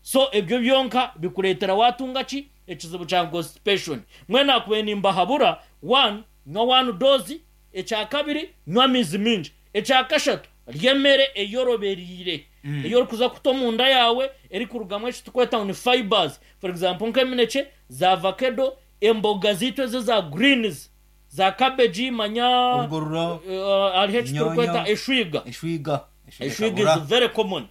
So ebyo byonka bikureetera waatunga ki? Ekizibu kya constipation. Mbwenu nakubaire nimbahabura, one, nywa one dose, ekya kabiri, nywa amaizi maingi, ekya kashatu, rya emere eyorobereire, ei orikuza kuta omunda yaawe erikurugamu eki turikweta ngu ni fibres, for example nk'eminekye, za vakedo, emboga zaitu ezi eza greens, za cabbage, manya Obugorora, hariho eki turikweta enyoonyo, eshwiga. eshwiga. Eshwiga is very common.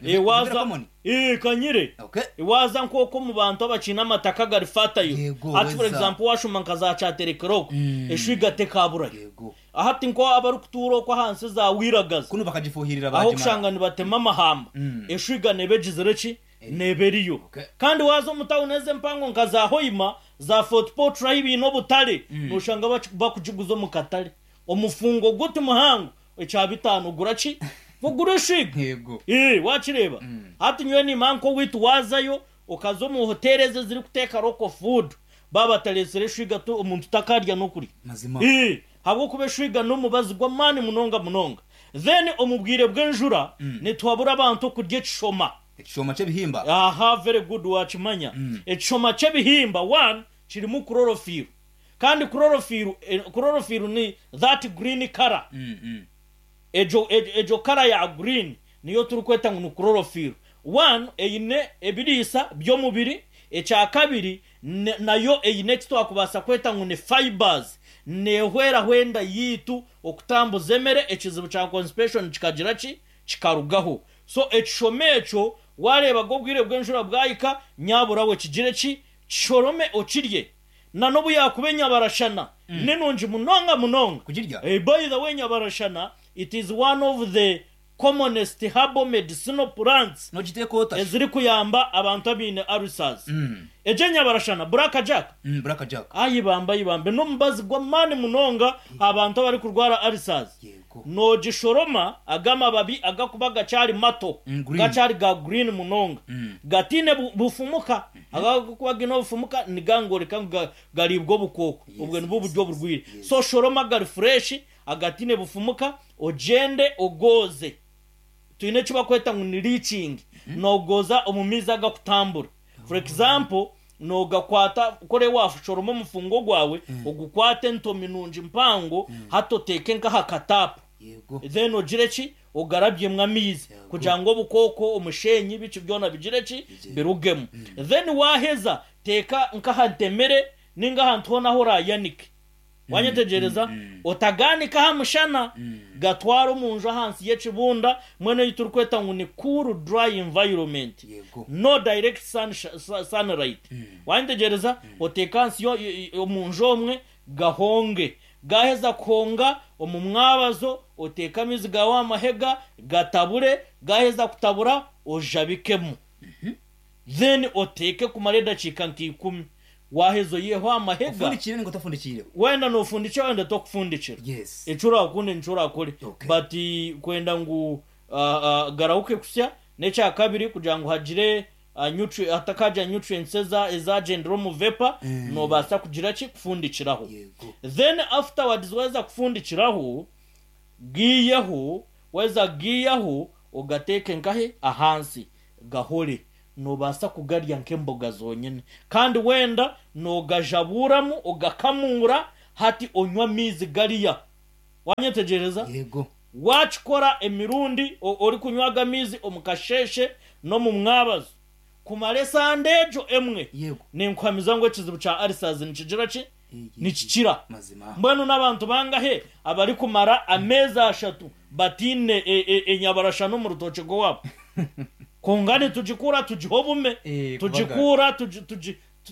Eeh Waaza eeh kanyire Okay. waaza nk'oku omu bantu abakiine amataka agari fertile Yego, hati for weza. example waashoma nka za Kyaterekere okwo eshwiga tekaaburayo. Yego. Hati nko abarikutuura okwo ahansi za Wiragazi Kunu bakagifuhirira aho bagimara. okushanga nibatema amahamba eshwiga neeba egizire ki? Neeba eriyo. Okay. Kandi waaza omu tawuni ezi empango nka za Hoima, za Fort Portal ahu baine obutare nooshanga bakugiguza omu katare. Omufungo guti muhango Ekya bitaano ogura ki? Ogura eshwiga. Yego. Ee, waakireeba? Hati nyowe niimanya nk'owaitu waazayo okaza omu hoteeri ezi ezirikuteeka local food, baaba batareetsire eshwiga to omuntu takaarya n'okurya. Mazima. Ee, ahabw'okuba eshwiga n'omubazi gw'amaani munonga munonga. Then omu bwire bw'enjura nituhabura abantu okurya ekishoma. Ekishoma ky'ebihimba. Aha, very good waakimanya. Ekishoma ky'ebihimba, one, kirimu chlorophyll. Kandi chlorophyll, chlorophyll ni that green colour. Egyo, egyo colour ya green niyo turikweta ngu ni chlorophyll. One, eine ebiriisa by'omubiri, ekya kabiri, nayo eine eki twakubaasa kweta ngu ni fibres, neehweraho enda yaitu okutambuza emere, ekizibu kya constipation kikagira ki? Kikarugaho. So ekishomo ekyo waareeba ge obwire bw'enjura bwahika, nyabura we kigire ki? Kishorome okirye. Na n'obu yaakuba enyabarashana ni nungi munonga munonga. Kugirya? By the way enyabarashana it is one of the commonest herbal medicinal plants Nogiteeka ota shi? ezirikuyamba abantu abaine ulcers. Egyo enyabarashana, black jack, Black jack. ayi bambe ayi bambe n'omubazi gw'amaani munonga aha bantu abarikurwara ulcers. Yego. Noogishoroma aga amababi agakuba gakyari mato, Green. gakyari ga green munonga, gataine bufumuka. Aga agarikuba gaine obufumuka nigangoreka ngu gariibwa obukooko, obwo nibwo buryo oburwaire. So shoroma agari fresh agataine bufumuka ogyende ogooze. Twine eki barikweta ngu ni leaching, noogooza omu maizi agakutambura. For example, noogakwata kore waashoroma omufungo gwawe, ogukwate entomi nungi mpango hati oteeke nk'aha kataapu. Then ogire ki? Ogarabyemu amaizi kugira ngu obukooko, omushenyi, biki byona bigire ki? Birugemu. Then waaheza teeka nk'aha ntemere nainga ahantu hoona ahu oraayanike. Waanyetegyereza? Otagaanika aha mushana, gatware omu nju ahansi y'ekibunda, mbwenu ei turikweta ngu ni cool dry environment, no direct sunlight. Waanyetegyereza? Oteeke ahansi omu nju omwe gahonge. Gaaheza kuhonga, omu mwabazo oteeke amaizi gaawe aha mahega, gatabure, gaaheza kutabura ojabikemu. Then oteeke kumara edakiika nka ikumi. Waaheza oiheho amahega. Ofundikiire ninga otafundikiireho? Wenda noofundikira wenda tokufundikira. Yes. Eki oraakunde nikyo oraakore. Okay. But kwenda ngu garahuke kusya, n'ekyakabiri kugira ngu hagire nutri hatakaagira nutrients eza ezagyendera omu vapor, noobaasa kugira ki? Kufundikiraho. Yego. Then afterwards waaheza kufundikiraho, Giiyeho, waaheza kugiiyaho ogateeke nkahe? Ahansi, gahore. Noobaasa kugarya nk'emboga zonyine. Kandi wenda noogajabuuramu ogakamuura hati onywe amaizi gariya. Waanyetegyereza? Yego. Waakikora emirundi orikunywa ago amaizi omu kasheeshe n'omu mwabazo kumara esande egyo emwe, Yego. ninkuhamiza ngu ekizibu kya ulcers nikigira ki? Nikikira. Mazima. Mbwenu n'abantu bangahe abarikumara ameezi ashatu bataine enyabarashana omu rutookye rw'owaabo? Kwonka nitugikuura tugiha obume, Eh, tugikuura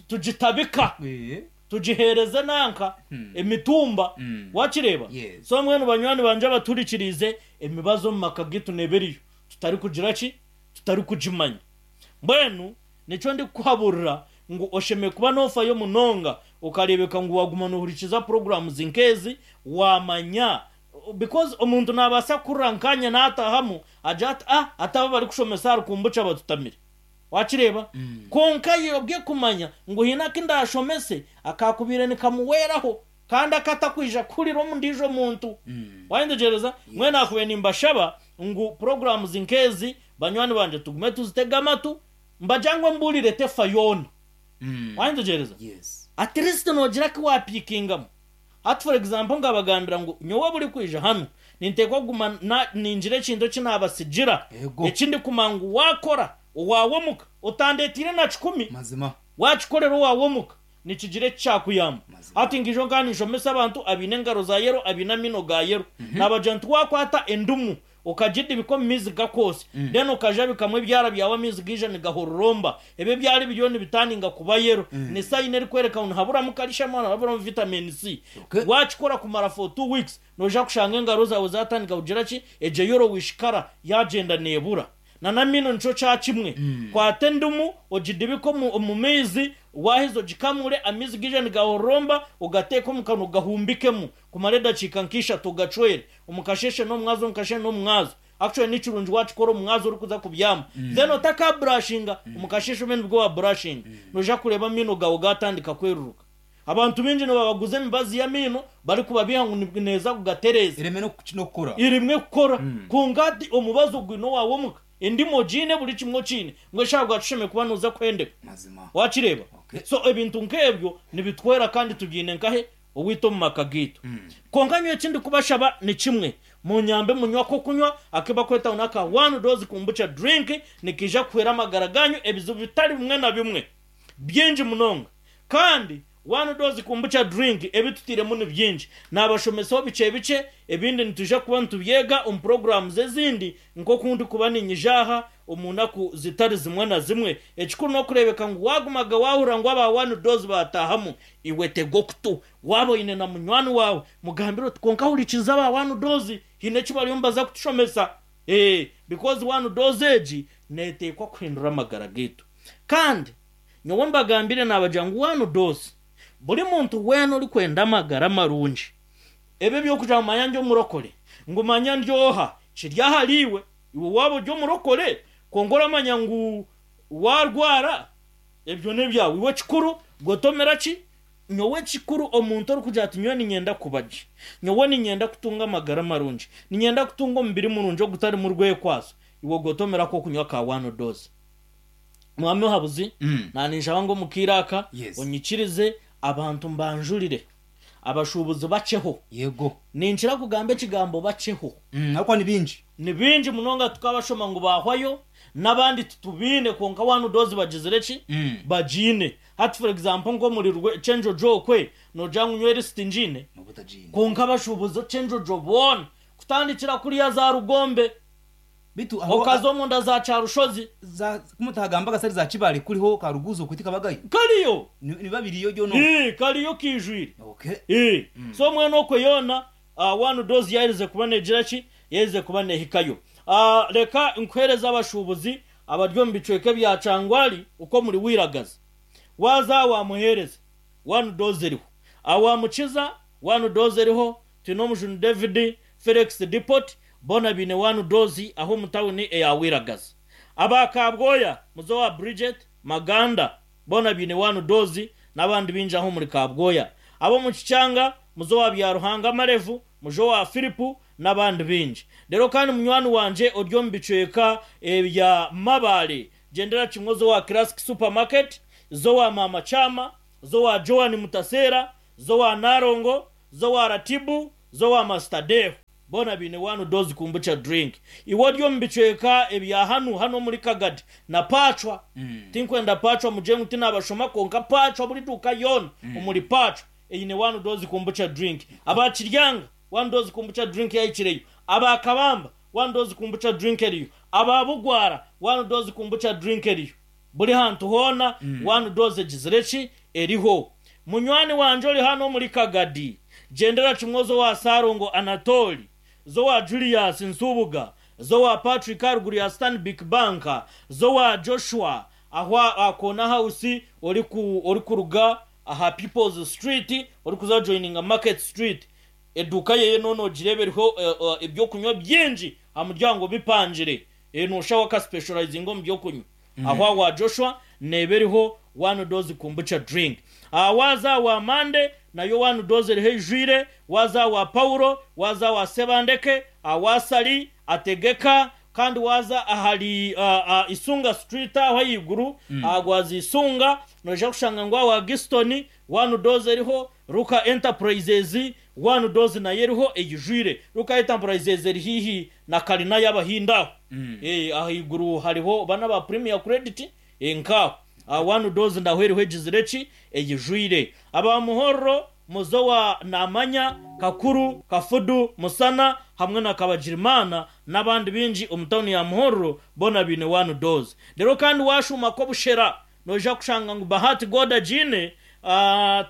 tugitabika, Eh. tugiheereze nanka emitumba. Wakireeba? Yes. So mbwenu banywani bangye abaturikiriize, emibazi omu maka gaitu neeba eriyo, tutarikugira ki? Tutarikugimanya. Mbwenu nikyo ndikukuhaburira ngu oshemereire kuba noofayo munonga okareebeka ngu waaguma noohurikiza programs nk'ezi waamanya because omuntu naabaasa kuhurira nkaanye naatahamu agire ati ah ati aba abarikushomesa ahari kombucha batutamire. Waakireeba? Kwonka ayobwe kumanya ngu haine aku ndaashomese akaakubaire nikamuhweraho kandi aku atakwija kuhurira omu ndiijo muntu. Waayetegyereza? Mbwenu naakubaire nimbashaba ngu programs nk'ezi Banywani bangye tugume tuzitege amatu mbagira ngu embuurire tefa yoona. Wayetegyereza? Yes. At least noogira aku waapiikingamu. Hati for example nkabagambira ngu nyowe buri kwija hanu ninteekwa kuguma na ningira ekintu eki naabatsigira Ego. eki ndikumanya ngu waakora owaawe omuka otandeeteire na kikumi Mazima. waakikorera owaawe omuka nikigira eki kyakuyamba. Mazima. Hati nkiija nkaba ninshomesa abantu abaine engaro za yero abaine amaino ga yero naabagira nti waakwata endumu Okagidibika omu maizi gakwotsya, then okajabikamu ebyara byawe amaizi gaija nigahororomba. Ebyo ebyara ebiriyo nibitandinga kuba yellow ni sign erikworeka ngu nihaburamu calcium nihaburamu vitamin C. Okay. Wakikora kumara for 2 weeks noija kushanga engaro zaawe zatandika kugira ki? Egyo yellowish colour yagyenda nebura. Na n'amaino nikyo kya kimwe. Kwata endimu ogidibike omu maizi, waaheza ogikamure, amaizi gaije nigahororomba, ogateeke omu kanwa ogahumbikemu kumara edakiika nk'ishatu ogacwere omu kasheeshe n'omumwazo omu kasheeshe n'omumwazo. Actually ni kirungi waakikora omumwazo orikuza kubyama then otakaburashinga, omu kasheeshe obe nibwo waaburashinga. Noija kureeba amaino gaawe gaatandika kweruruka. Abantu baingi nibabaguza emibazi y'amaino barikubabiiha ngu neeza kugatereeza. Ereme n'okukora. Eremwe kukora. Kwonka hati omubazi ogwine owaawe omuka, endimu ogiine, buri kimwe okiine, mbwenu shi ahabwaki oshemereire kuba nooza kuhendeka? Mazima. Waakireeba? Okay. So ebintu nk'ebyo nibituhwera kandi tubiine nkahe? Owaitu omu maka gaitu. Kwonka nyowe eki ndikubashaba ni kimwe, munyambe munywe ak'okunywa aku barikweta ngu n'aka One Dose Kombucha Drink, nikaija kuhwera amagara gaanyu ebizibu bitari bimwe na bimwe. Bingi munonga. Kandi One Dose Kombucha Drink ebi tutairemu ni bingi. Naabashomesaho bikye bikye, ebindi nitwija kuba nitubyega omu puroguraamu ezindi nk'oku ndikuba niinyija aha omu naku zitari zimwe na zimwe. Ekikuru n'okureebeka ngu waagumaga waahurira ngu aba One Dose baataahamu, iwe tega okutu. Waaba oine na munywani waawe, mugambire oti, Kwonka hurikiza aba One Dose, haine eki bariyo nibaza kutushomesa. Ee, because One Dose egi neeteekwa kuhindura amagara gaitu. Kandi nyowe mbagambire naabagira ngu one dose, buri muntu weena orikwenda amagara marungi, ebi eby'okugira ngu manya ndi omurokore, ngu manya ndi oha, kiri ahariiwe. Iwe waaba ori omurokore, kwonka oramanya ngu waarwara, ebyo n'ebyawe. Iwe ekikuru gotomera ki? Nyowe ekikuru omuntu orikugira ati nyowe niinyenda kuba gye, nyowe niinyenda kutunga amagara marungi, niinyenda kutunga omubiri murungi ogutarimu rwekwaso, iwe gotomera ak'okunywa ka one dose. Mwami Muhabuzi, naninshaba ngu omu kaire aka Yes. onyikirize abantu mbanjurire abashuubuzi bakyeho. Yego. Ninkira kugamba ekigambo bakyeho. Ahabw'okuba ni baingi. Ni baingi munonga tukabashoma ngu baahwayo n'abandi titubaine kwonka one dose bagizire ki? Bagiine. Hati for example nk'omuri Kyenjojo okwe noogira ngu nyowe lisiti ngiine? Nooba otagiine. Kwonka abashuubuzi Kyenjojo boona kutandikira kuriya za Rugombe Beitu aho Okaza omunda za Kyarushozi. Za ku mutagambaga sari za Kibale kuriho ka Ruguzo okwo tikabagayo? Kariyo. Nibiba biriyo byona okwo? Ii, kariyo kaijwire. Okay. Ii. So mbwenu okwo yoona one dose yaaherize kuba neegira ki? Yaaherize kuba neehikayo. Reka nkuheereze abashuubuzi Abari omu bicweka ebya Kyangwali okwo omuri Wiragazi, waaza aha wa Muheereza, one dose eriho. Aha wa Mukiza, one dose eriho, twine Omujuni David, Felix Depot, boona baine one dose aho omu tawuni eya Wiragazi. Aba Kabwoya, muze owa Bridget, Maganda, boona baine one dose n'abandi baingi aho omuri Kabwoya. Ab'omu Kikyanga, muze owa Byaruhanga Marevu, Mujo wa Filipu, n'abandi baingi. Reero kandi munywani wangye ori omu bicweka ebya Mabaale, gyendera kimwe oze owa Classic Supermarket, ze owa Maama Kyama, ze owa Joan Mutaseera, ze owa Nalongo, ze owa Ratibu, ze owa Master Dave. Boona baine one dose kombucha drink. Iwe ori omu bicweka ebya hanu hanu omuri Kagadi na Pacwa, tinkwenda Pacwa mugire ngu tinabashoma kwonka Pacwa buri duuka yoona omuri Pacwa eine one dose kombucha drink. Aba Kiryanga one dose kombucha drink yahikireyo, aba Kabamba one dose kombucha drink eriyo, aba Bugwara one dose kombucha drink eriyo. Buri hantu hoona one dose egizire ki? Eriho. Munywani wangye ori hanu omuri Kagadi, gyendera kimwe oze owa Ssalongo Anatoli, za owa Julius Nsubuga, za owa Patrick aharuguru ya Stanbic Bank, za owa Joshua aho aha Corner House orikuruga aha People's Street orikuza joininga Market Street. Eduuka yeye noona ogireeba eriho eby'okunywa bingi aha muryango bipangire. Noshusha we akaspecializinga omu by'okunywa. Aho awa Joshua neeba eriho one dose kombucha drink. Aha waaza awa Mande nayo one dose eriho eijwire, waaza awa Paulo, waaza awa Sebandeke, awa Sali, Ategeka, kandi waaza ahari Isunga Street aho ahaiguru, aha gwaza Isunga, noija kushanga ngu awa Giston one dose eriho, Ruka Enterprises one dose nayo eriho eijwire. Ruka Enterprises eri haihi na kalina y'Abahindi aho. Ahaiguru hariho bana ba Premier Credit nk'aho. Aha one dose naho eriho egizire ki? Eijwire. Aba Muhorro, Muzowa Namanya, Kakuru, Kafudu, Musana hamwe na Kabagirimana n'abandi baingi omu tawuni ya Muhorro boona baine one dose. Reero kandi waashuuma Kobushera noija kushanga ngu Bahati God agiine,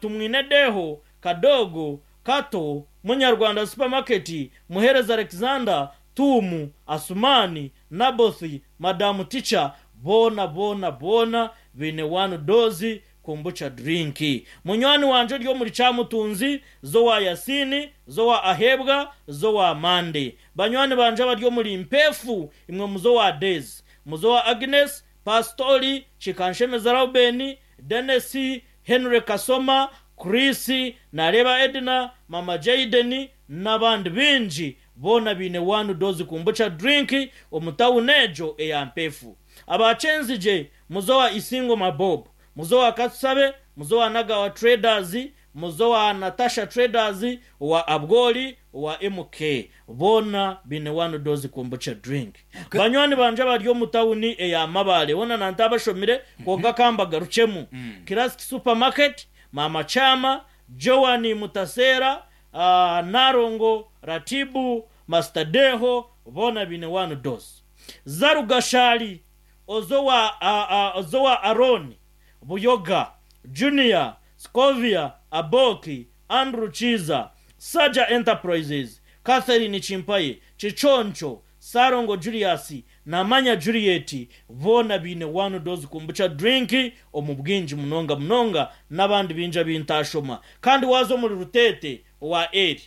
Tumwine Deho, Kadogo, Kato, Munyarwanda Supermarket, Muhereza Alexander, Tuumu, Asumani, Naboth, Madamu Ticha, boona boona boona baine one dose kombucha drink. Munywani wangye ori omuri Kyamutunzi, z'owa Yasini, z'owa Ahebwa, z'owa Mande. Banywani bangye abari omuri Mpeefu, imwe muze owa Daisy, muze owa Agnes, Pasitori, Kikanshemeza Rauben, Denis, Henry Kasoma, Chris, Nareeba Edna, Mama Jayden n'abandi baingi boona baine one dose kombucha drink omu tawuni egyo eya Mpeefu. Aba Kyenzigye, muze owa Isingoma Bob, muze owa Katusabe, muze owa Nagawa Traders, muze owa Natasha Traders, owa Abwoli, owa MK boona baine one dose kombucha drink. Banywani bangye abari omu tawuni eya Mabaale hoona nantabashomire kwonka ka mbagarukyemu. Classic Supermarket, Maama Kyama, Joan Mutaseera, Nalongo Ratibu, Master Deho boona baine one dose. Zarugashali oze owa Arooni, Buyoga, Junior, Scovia, Aboki, Andrew Kiiza, Saja Enterprises, Catherine Chimpaye, Kiconco, Ssalongo Julius, Namanya Juliet boona baine one dose kombucha drink omu bwingi munonga munonga n'abandi baingi abu ntaashoma. Kandi waaza omuri Ruteete owa Eli,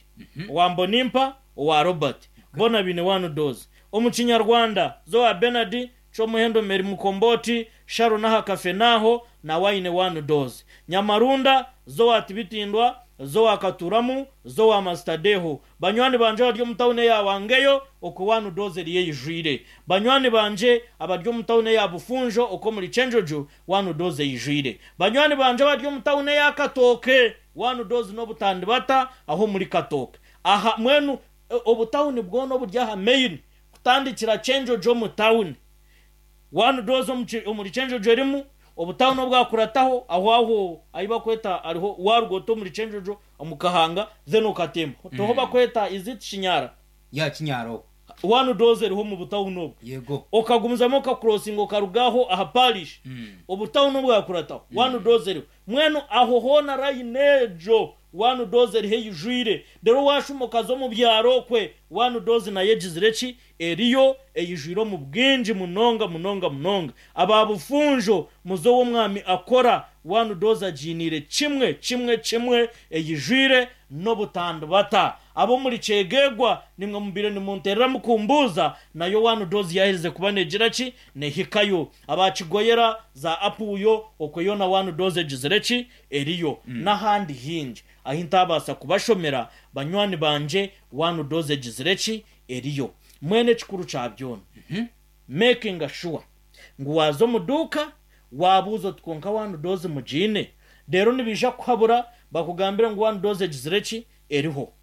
owa Mbonimpa, owa Robert boona baine one dose. Omu Kinyarwanda za owa Bernard, Kyomuhendo Mary Mukomboti, Sharon aha Kafenaaho nawe aine one dose. Nyamarunda za owa Tibitindwa, za owa Katuramu, za owa Master Deho. Banywani bangye abari omu tawuni eya Wangeyo okwo one dose eriyo eijwire. Banywani bangye abari omu tawuni eya Bufunjo okwo omuri Kyenjojo one dose eijwire. Banywani bangye abari omu tawuni eya Katooke one dose n'obutandibata aho omuri Katooke. Aha mbwenu obutawuni bwona oburi aha main kutandikira Kyenjojo omu tawuni. One dose omuri Kyenjojo erimu, obutawuni obwakurataho aho aho ahi bakweta hariho waruga ota omuri Kyenjojo omu Kahanga then okatemba toho bakweta is it Kinyara? Yeah Kinyara okwo. One dose eriho omu butawuni obwo. Yego. Okagumizamu okakurosinga okaruga aho aha parish, obutawuni obwakurataho, one dose eriho. Mbwenu aho hoona line egyo one dose eriho eijwire. Reero waashuma okaza omu byaro okwe, one dose nayo egizire ki? Eriyo eijwire omu bwingi munonga munonga munonga. Aba Bufunjo muze ow'omwami akora, one dose agiiniire kimwe kimwe kimwe eijwire n'obutandibata. Ab'omuri Kyegegwa nimwe mubaire nimunteerera mukumbuuza, nayo one dose yaaherize kuba neegira ki? Neehikayo. Aba Kigoyera, za Apuuyo, okwo yoona one dose egizire ki? Eriyo. N'ahandi haingi ahi ntaabaasa kubashomera, banywani bangye, one dose egizire ki? Eriyo. Mbwenu ekikuru kya byona, making sure ngu waaza omu duuka waabuuza oti kwonka one dose mugiine? Reero nibaija kukuhabura bakugambire ngu one dose egizire ki? Eriho.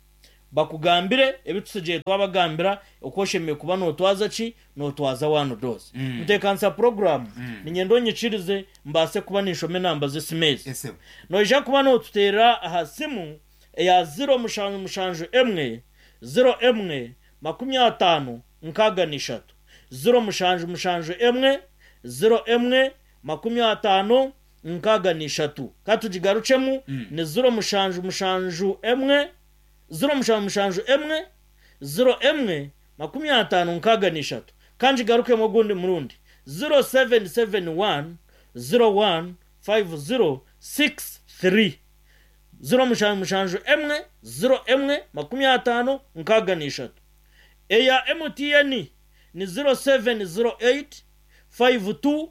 Bakugambire ebi tutsigaire twabagambira oku oshemereire kuba nootwaza ki? Nootwaza one dose. Nteekanisa puroguraamu, niinyenda onyikirize mbaase kuba ninshoma enamba z'esimu ezi. Noija kuba nootuteerera aha simu eya ziro mushanju mushanju emwe, ziro emwe, 53, 63. 0 7 7 1, 0 1, 50, 63. Ka tugigarukyemu, ni 0 7 7 1, 0 7 7 1, 0 1, 50, 63. Ka ngigarukemu ogundi murundi, 0 7 7 1, 0 1, 5 0 6 3. 0 7 7 1, 0 1, 50, 63. Eya MTN ni 0708 52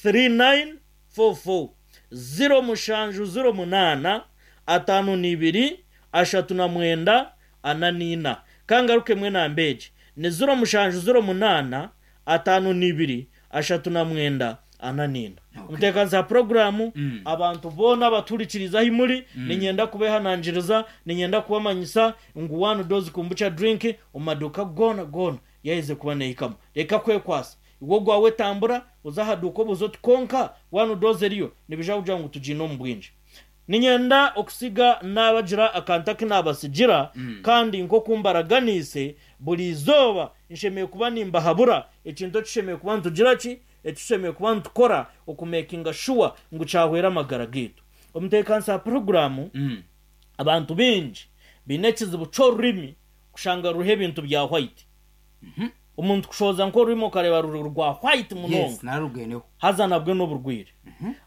3944, 0708 52 39 44. Ka ngarukemu enamba egi ni 0708 52 39 44. Omuteekanisa wa puroguraamu, Abantu boona abatuhurikiriize ahi muri, niinyenda kubeehanangiriza, niinyenda kubamanyisa ngu One Dose Kombucha Drink omu maduuka goona goona yaaherize kuba neehikamu. Reka kwekwasa. Iwe ogwawe tambura oze aha duuka obuuze oti kwonka One Dose eriyo? Nibaija kugira ngu tugiine omu bwingi. Niinyenda okutsiga naabagira akantu aku naabatsigira, kandi nk'oku mbaraganiise, buri izooba nshemereire kuba nimbahabura ekintu eki tushemereire kuba nitugira ki? Eki tushemereire kuba nitukora okumekinga shuwa ngu kyahwera amagara gaitu. Omuteekanisa wa puroguraamu, Abantu baingi baine ekizibu ky'orurimi kushanga ruriho ebintu bya white. Omuntu kushohoza nk'orurimi okareeba ruri rwa white munonga Yes, nararugeneho. haza nabwe n'oburwaire.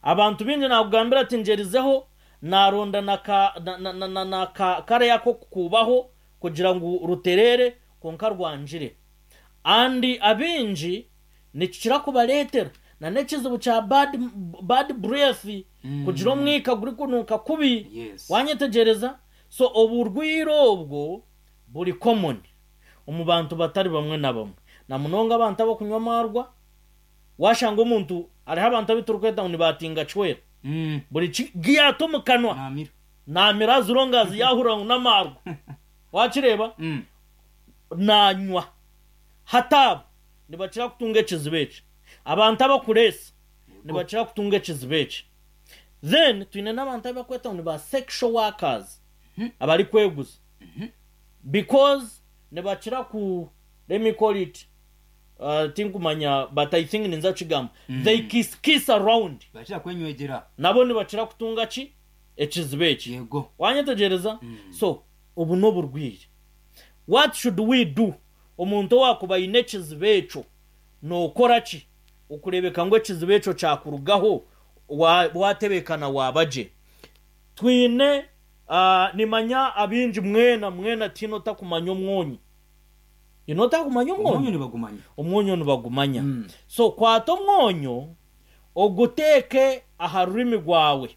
Abantu baingi naakugambira ati ngyerizeho naaronda na ka na na na na na ka kare ak'okukuubaho kugira ngu rutereere kwonka rwangire. And abaingi Nikikira kubareetera na n'ekizibu kya bad bad breath, kugira omwika gurikunuuka kubi. Yes. Wanyetegyereza? So oburwaire obwo buri common omu bantu batari bamwe na bamwe. Na munonga abantu abakunywa amaarwa, washanga omuntu, hariho abantu abu turikweta ngu ni ba tingacwera. Buri ki giyaata omu kanwa, Naamira. naamira as long as yaahurira ngu n'amaarwa. Wakireeba? Naanywa. Hati abo nibakira kutunga ekizibu eki. Abantu abakureesa nibakira kutunga ekizibu eki. Then twine n'abantu abu barikweta ngu ni ba sexual workers abarikweguza because nibakira ku let me call it tinkumanya but I think ninza kukigamba they kiss kiss around. Nibakira kwenywegyera. Nabo nibakira kutunga ki? Ekizibu eki. Yego. Wanyetegyereza? So obu n'oburwaire. What should we do? Omuntu owaakuba aine ekizibu ekyo, nookora ki okureebeka ngu ekizibu ekyo kyakurugaho waatebeekana waaba gye? Twine, nimanya abaingi mwena mwena tihaine otakumanya omwonyo. Haine otakumanya omwonyo? Omwonyo nibagumanya. Omwonyo nibagumanya. So kwata omwonyo oguteeke aha rurimi rwawe.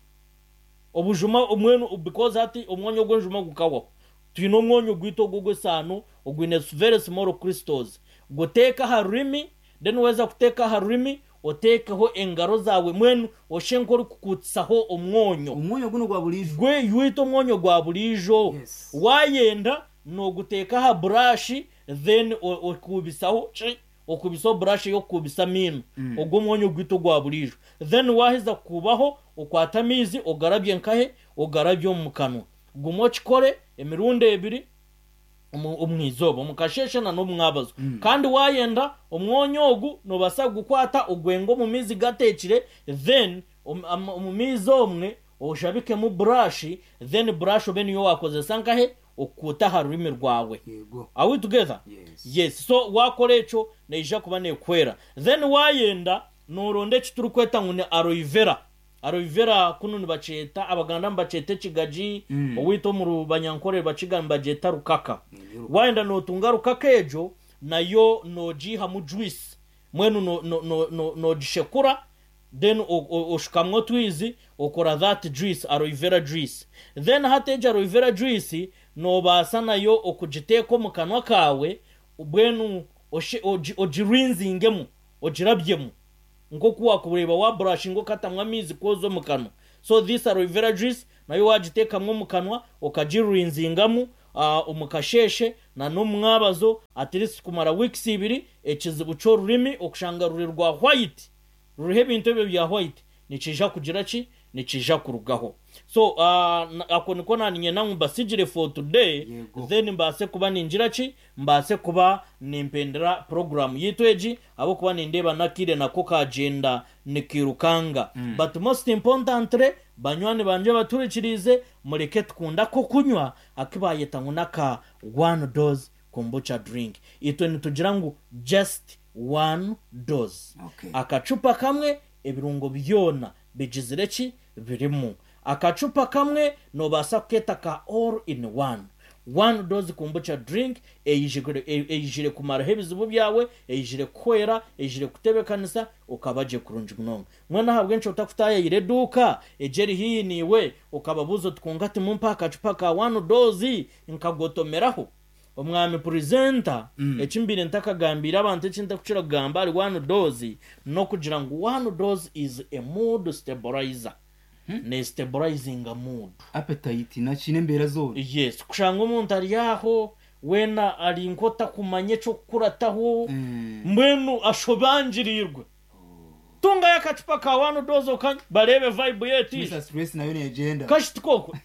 Obujuma mbwenu because hati omwonyo ogw'enjuma gukahwaho. Twine omwonyo gwaitu ogu ogw'esaano ogwine very small crystals. Guteeke aha rurimi, then waheza kuteeka aha rurimi, oteekeho engaro zaawe mbwenu oshushe nk'orikukuutisaho omwonyo. Omwonyo gunu ogwa buriijo. Gwe gwaitu omwonyo gwa buriijo. Yes. Waayenda nooguteeka aha burashi then okuubisaho ki? Okuubisaho burashi ey'okukuubisa amaino. Ogwo omwonyo gwaitu ogwa buriijo. Then waaheza kukuubaho, okwate amaizi ogarabye nkahe? Ogarabye omu kanwa. Guma okikore emirundi ebiri. Omu izooba, omu kasheeshe na n'omu mwabazo. Kandi waayenda, omwonyo ogu noobaasa kugukwata ogwenge omu maizi gateekire then omu maizi omwe oshabikemu burashi then burashi obe niyo waakozesa nkahe? Okukuuta aha rurimi rwawe. Are we together? Yes. So waakora ekyo neija kuba neekuhwera. Then waayenda nooronda eki turikweta ngu ni aloe vera. Aloe vera kunu nibakyeta, Abaganda nibakyeta ekigagi, owaitu omu Banyankore Bakiga nibagyeta rukaka. Waayenda nootunga rukaka egyo, nayo noogiihamu juice, mbwenu noogishekura then oshukamu otwizi okora that juice, aloe vera juice. Then hati egyo aloe vera juice noobaasa nayo okugiteeka omu kanwa kaawe, mbwenu ogirinzingemu, ogirabyemu. Nk'oku wakureeba wa brushinga okatamu amaizi kwoza omu kanwa. So this aloe vera juice nayo wagiteekamu omu kanwa okagirinzingamu omu kasheeshe na n'omu mwabazo at least kumara weeks ibiri, ekizibu ky'orurimi okushanga ruri rwa white ruriho ebintu ebyo bya white nikiija kugira ki? Nikiija kurugaho. So ako niko naninyenda ngu mbasigire for today then mbaase kuba ningira ki? Mbaase kuba nimpendera puroguraamu yaitu egi ahabw'okuba nindeeba n'akaire nako kaagyenda nikairukanga. But most importantly, banywani bangye abatuhurikiriize, mureke tukunde ak'okunywa aku baayeta ngu n'aka one dose kombucha drink. Itwe nitugira ngu just one dose. Akacupa kamwe ebirungo byona bigizire ki? Birimu. Akacupa kamwe noobaasa kukeeta ka all in one. One dose kombucha drink eijire kumaraho ebizibu byawe, eijire kukuhwera, eijire kukutebeekanisa okaba gye kurungi munonga. Mbwenu ahabw'enki otakutaayaayira eduuka egyo eri haihi naiwe okababuuza oti kwonka timumpe akacupa ka one dose nkagotomeraho? Omwami Purezenta, eki mbaire ntakagambiire abantu eki ntakukira kugamba ahari one dose n'okugira ngu one dose is a mood stabilizer. Ne stabilizinga mood. Appetite naki n'embeera zoona. Yes, kushanga omuntu ari aho weena ari nk'otakumanya eky'okukurataho, mbwenu ashobangiriirwe. Tungayo akacupa ka one dose okanywe bareebe vibe ye etiije. Mister Stress nayo negyenda. Kashiti kokwe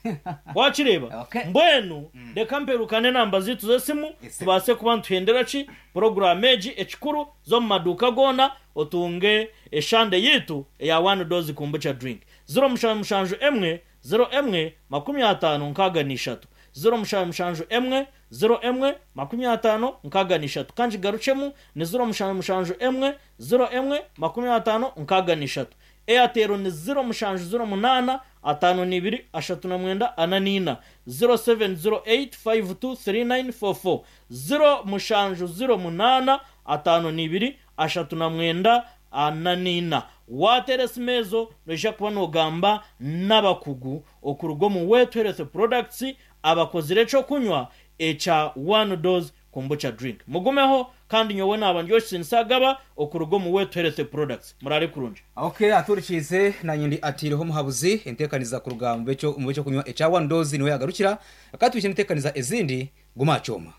wakireeba? Okay. Mbwenu reka mperukane enamba zaitu z'esimu Yes. tubaase kuba nituhendera ki puroguraamu egi ekikuru z'omu maduuka goona otunge eshande yaitu eya one dose kombucha drink. 0771 01 50 63 0771 01 50 63 Ka ngigarukyemu ni 0771 01 50 63. Airtel ni 0708 52 39 44, 0708 52 3944, 0708 52 39 44. Waateera esimu ezo noija kuba noogamba n'abakugu okuruga omu Wetu Health Products abakozire eky'okunywa ekya One Dose Kombucha Drink. Mugumeho kandi nyowe naaba ndi Oshsin Agaba okuruga omu Wetu Health Products. Muraare kurungi. Ok atuhurikiize nanye ndi ataireho omuhabuzi entekaniza kuruga omu b'ekyokunywa ekya One Dose niho yagarukira akatwikye entekaniza ezindi guma aha kyoma.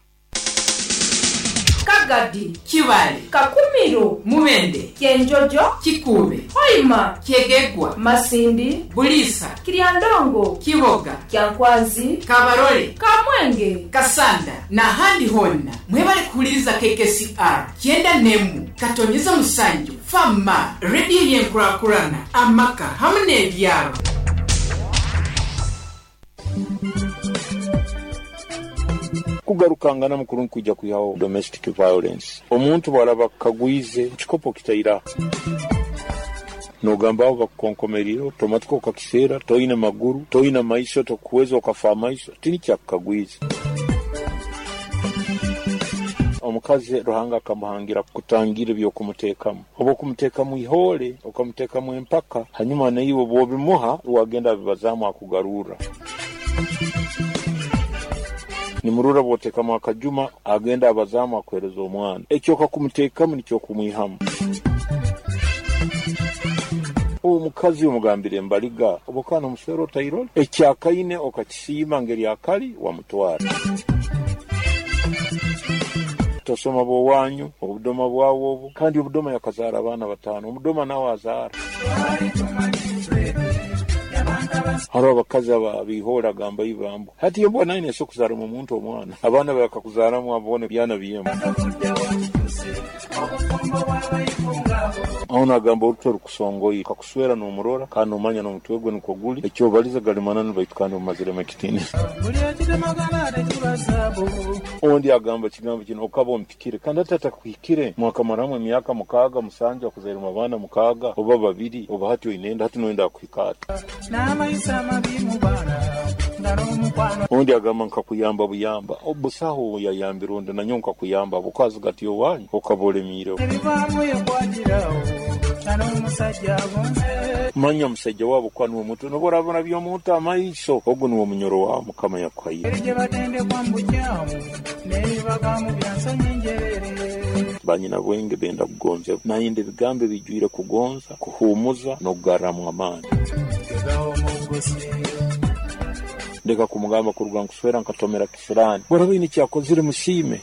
Kagadi, Kibale, Kakumiro, Mubende, Kyenjojo, Kikuube, Hoima, Kyegegwa, Masindi, Buliisa, Kiryandongo, Kiboga, Kyankwanzi, Kabarole, Kamwenge, Kasanda n'ahandi hoona. Mwebale kuhuliriza KKCR kyenda n'emwe katonyeza musanju Fama, rediyo y'enkurakurana, amaka hamu n'ebyaro. Kugarukangana mukuru nikwija kwihaho domestic violence. Omuntu bwaraba akukagwize ekikopo okitaire aha nogamba aho bakukonkomereire otomatika okakiseera, toine maguru, toine maiso, tokuhweza okafa amaiso, tinikyo akukagwize. Omukazi Ruhanga akamuhangira kutangira eby'okumuteekamu. Obu okumuteekamu ihoole, okamuteekamu empaka, hanyuma naiwe obu obimuha, wagenda abibazaamu akugarurra. Nimurora obu oteekamu akajuma, agenda abazaamu akuheereza omwana. Eki okakumuteekamu nikyo okumwihamu. Omukazi omugambire embaliga, obu okaba nomuswera otairole, ekyakaine okakisiima ngeri akali, wamutwara. Tosoma bw'owanyu, obudoma bwawe obu, kandi obudoma yakazaara abaana bataano, omudoma nawe azaara. Hariho abakazi aba agamba ibambo hati iyo mbwa naine eso kuzaaramu omuntu omwana abaana bakakuzaramu abone byana byemu. Aho nagamba oruto rukusongoye kakuswera n'omurora kandi nomanya n'omutwe gwe nikwo guli ekyobaliza gali mananu baitu kandi omumaziremu ekitiinisa. Ondi agamba kigambo kino okaba ompikire kandi ati atakuhikire mwakamaramu emyaka 6 7 akuzairemu abaana 6 oba 2 oba hati oinenda hati noyenda akuhika ati. Ondi agamba nkakuyamba buyamba obusaho yayambira ondi nanyo nkakuyamba bukazi gati owanyu okaba olemiire. Manya musajja waabo kwa niwe muto noba orabona by'omuntu amaiso ogwo niwe munyoro wa Mukama yakuhaire. Banyina bwenge benda kugonza nayenda ebigambo ebijwire kugonza kuhumuza n'okugarramu amaani. Ndeka kumugamba kuruga nkuswera nkatomera kisirani. Bwaraba ine kyakozire musiime.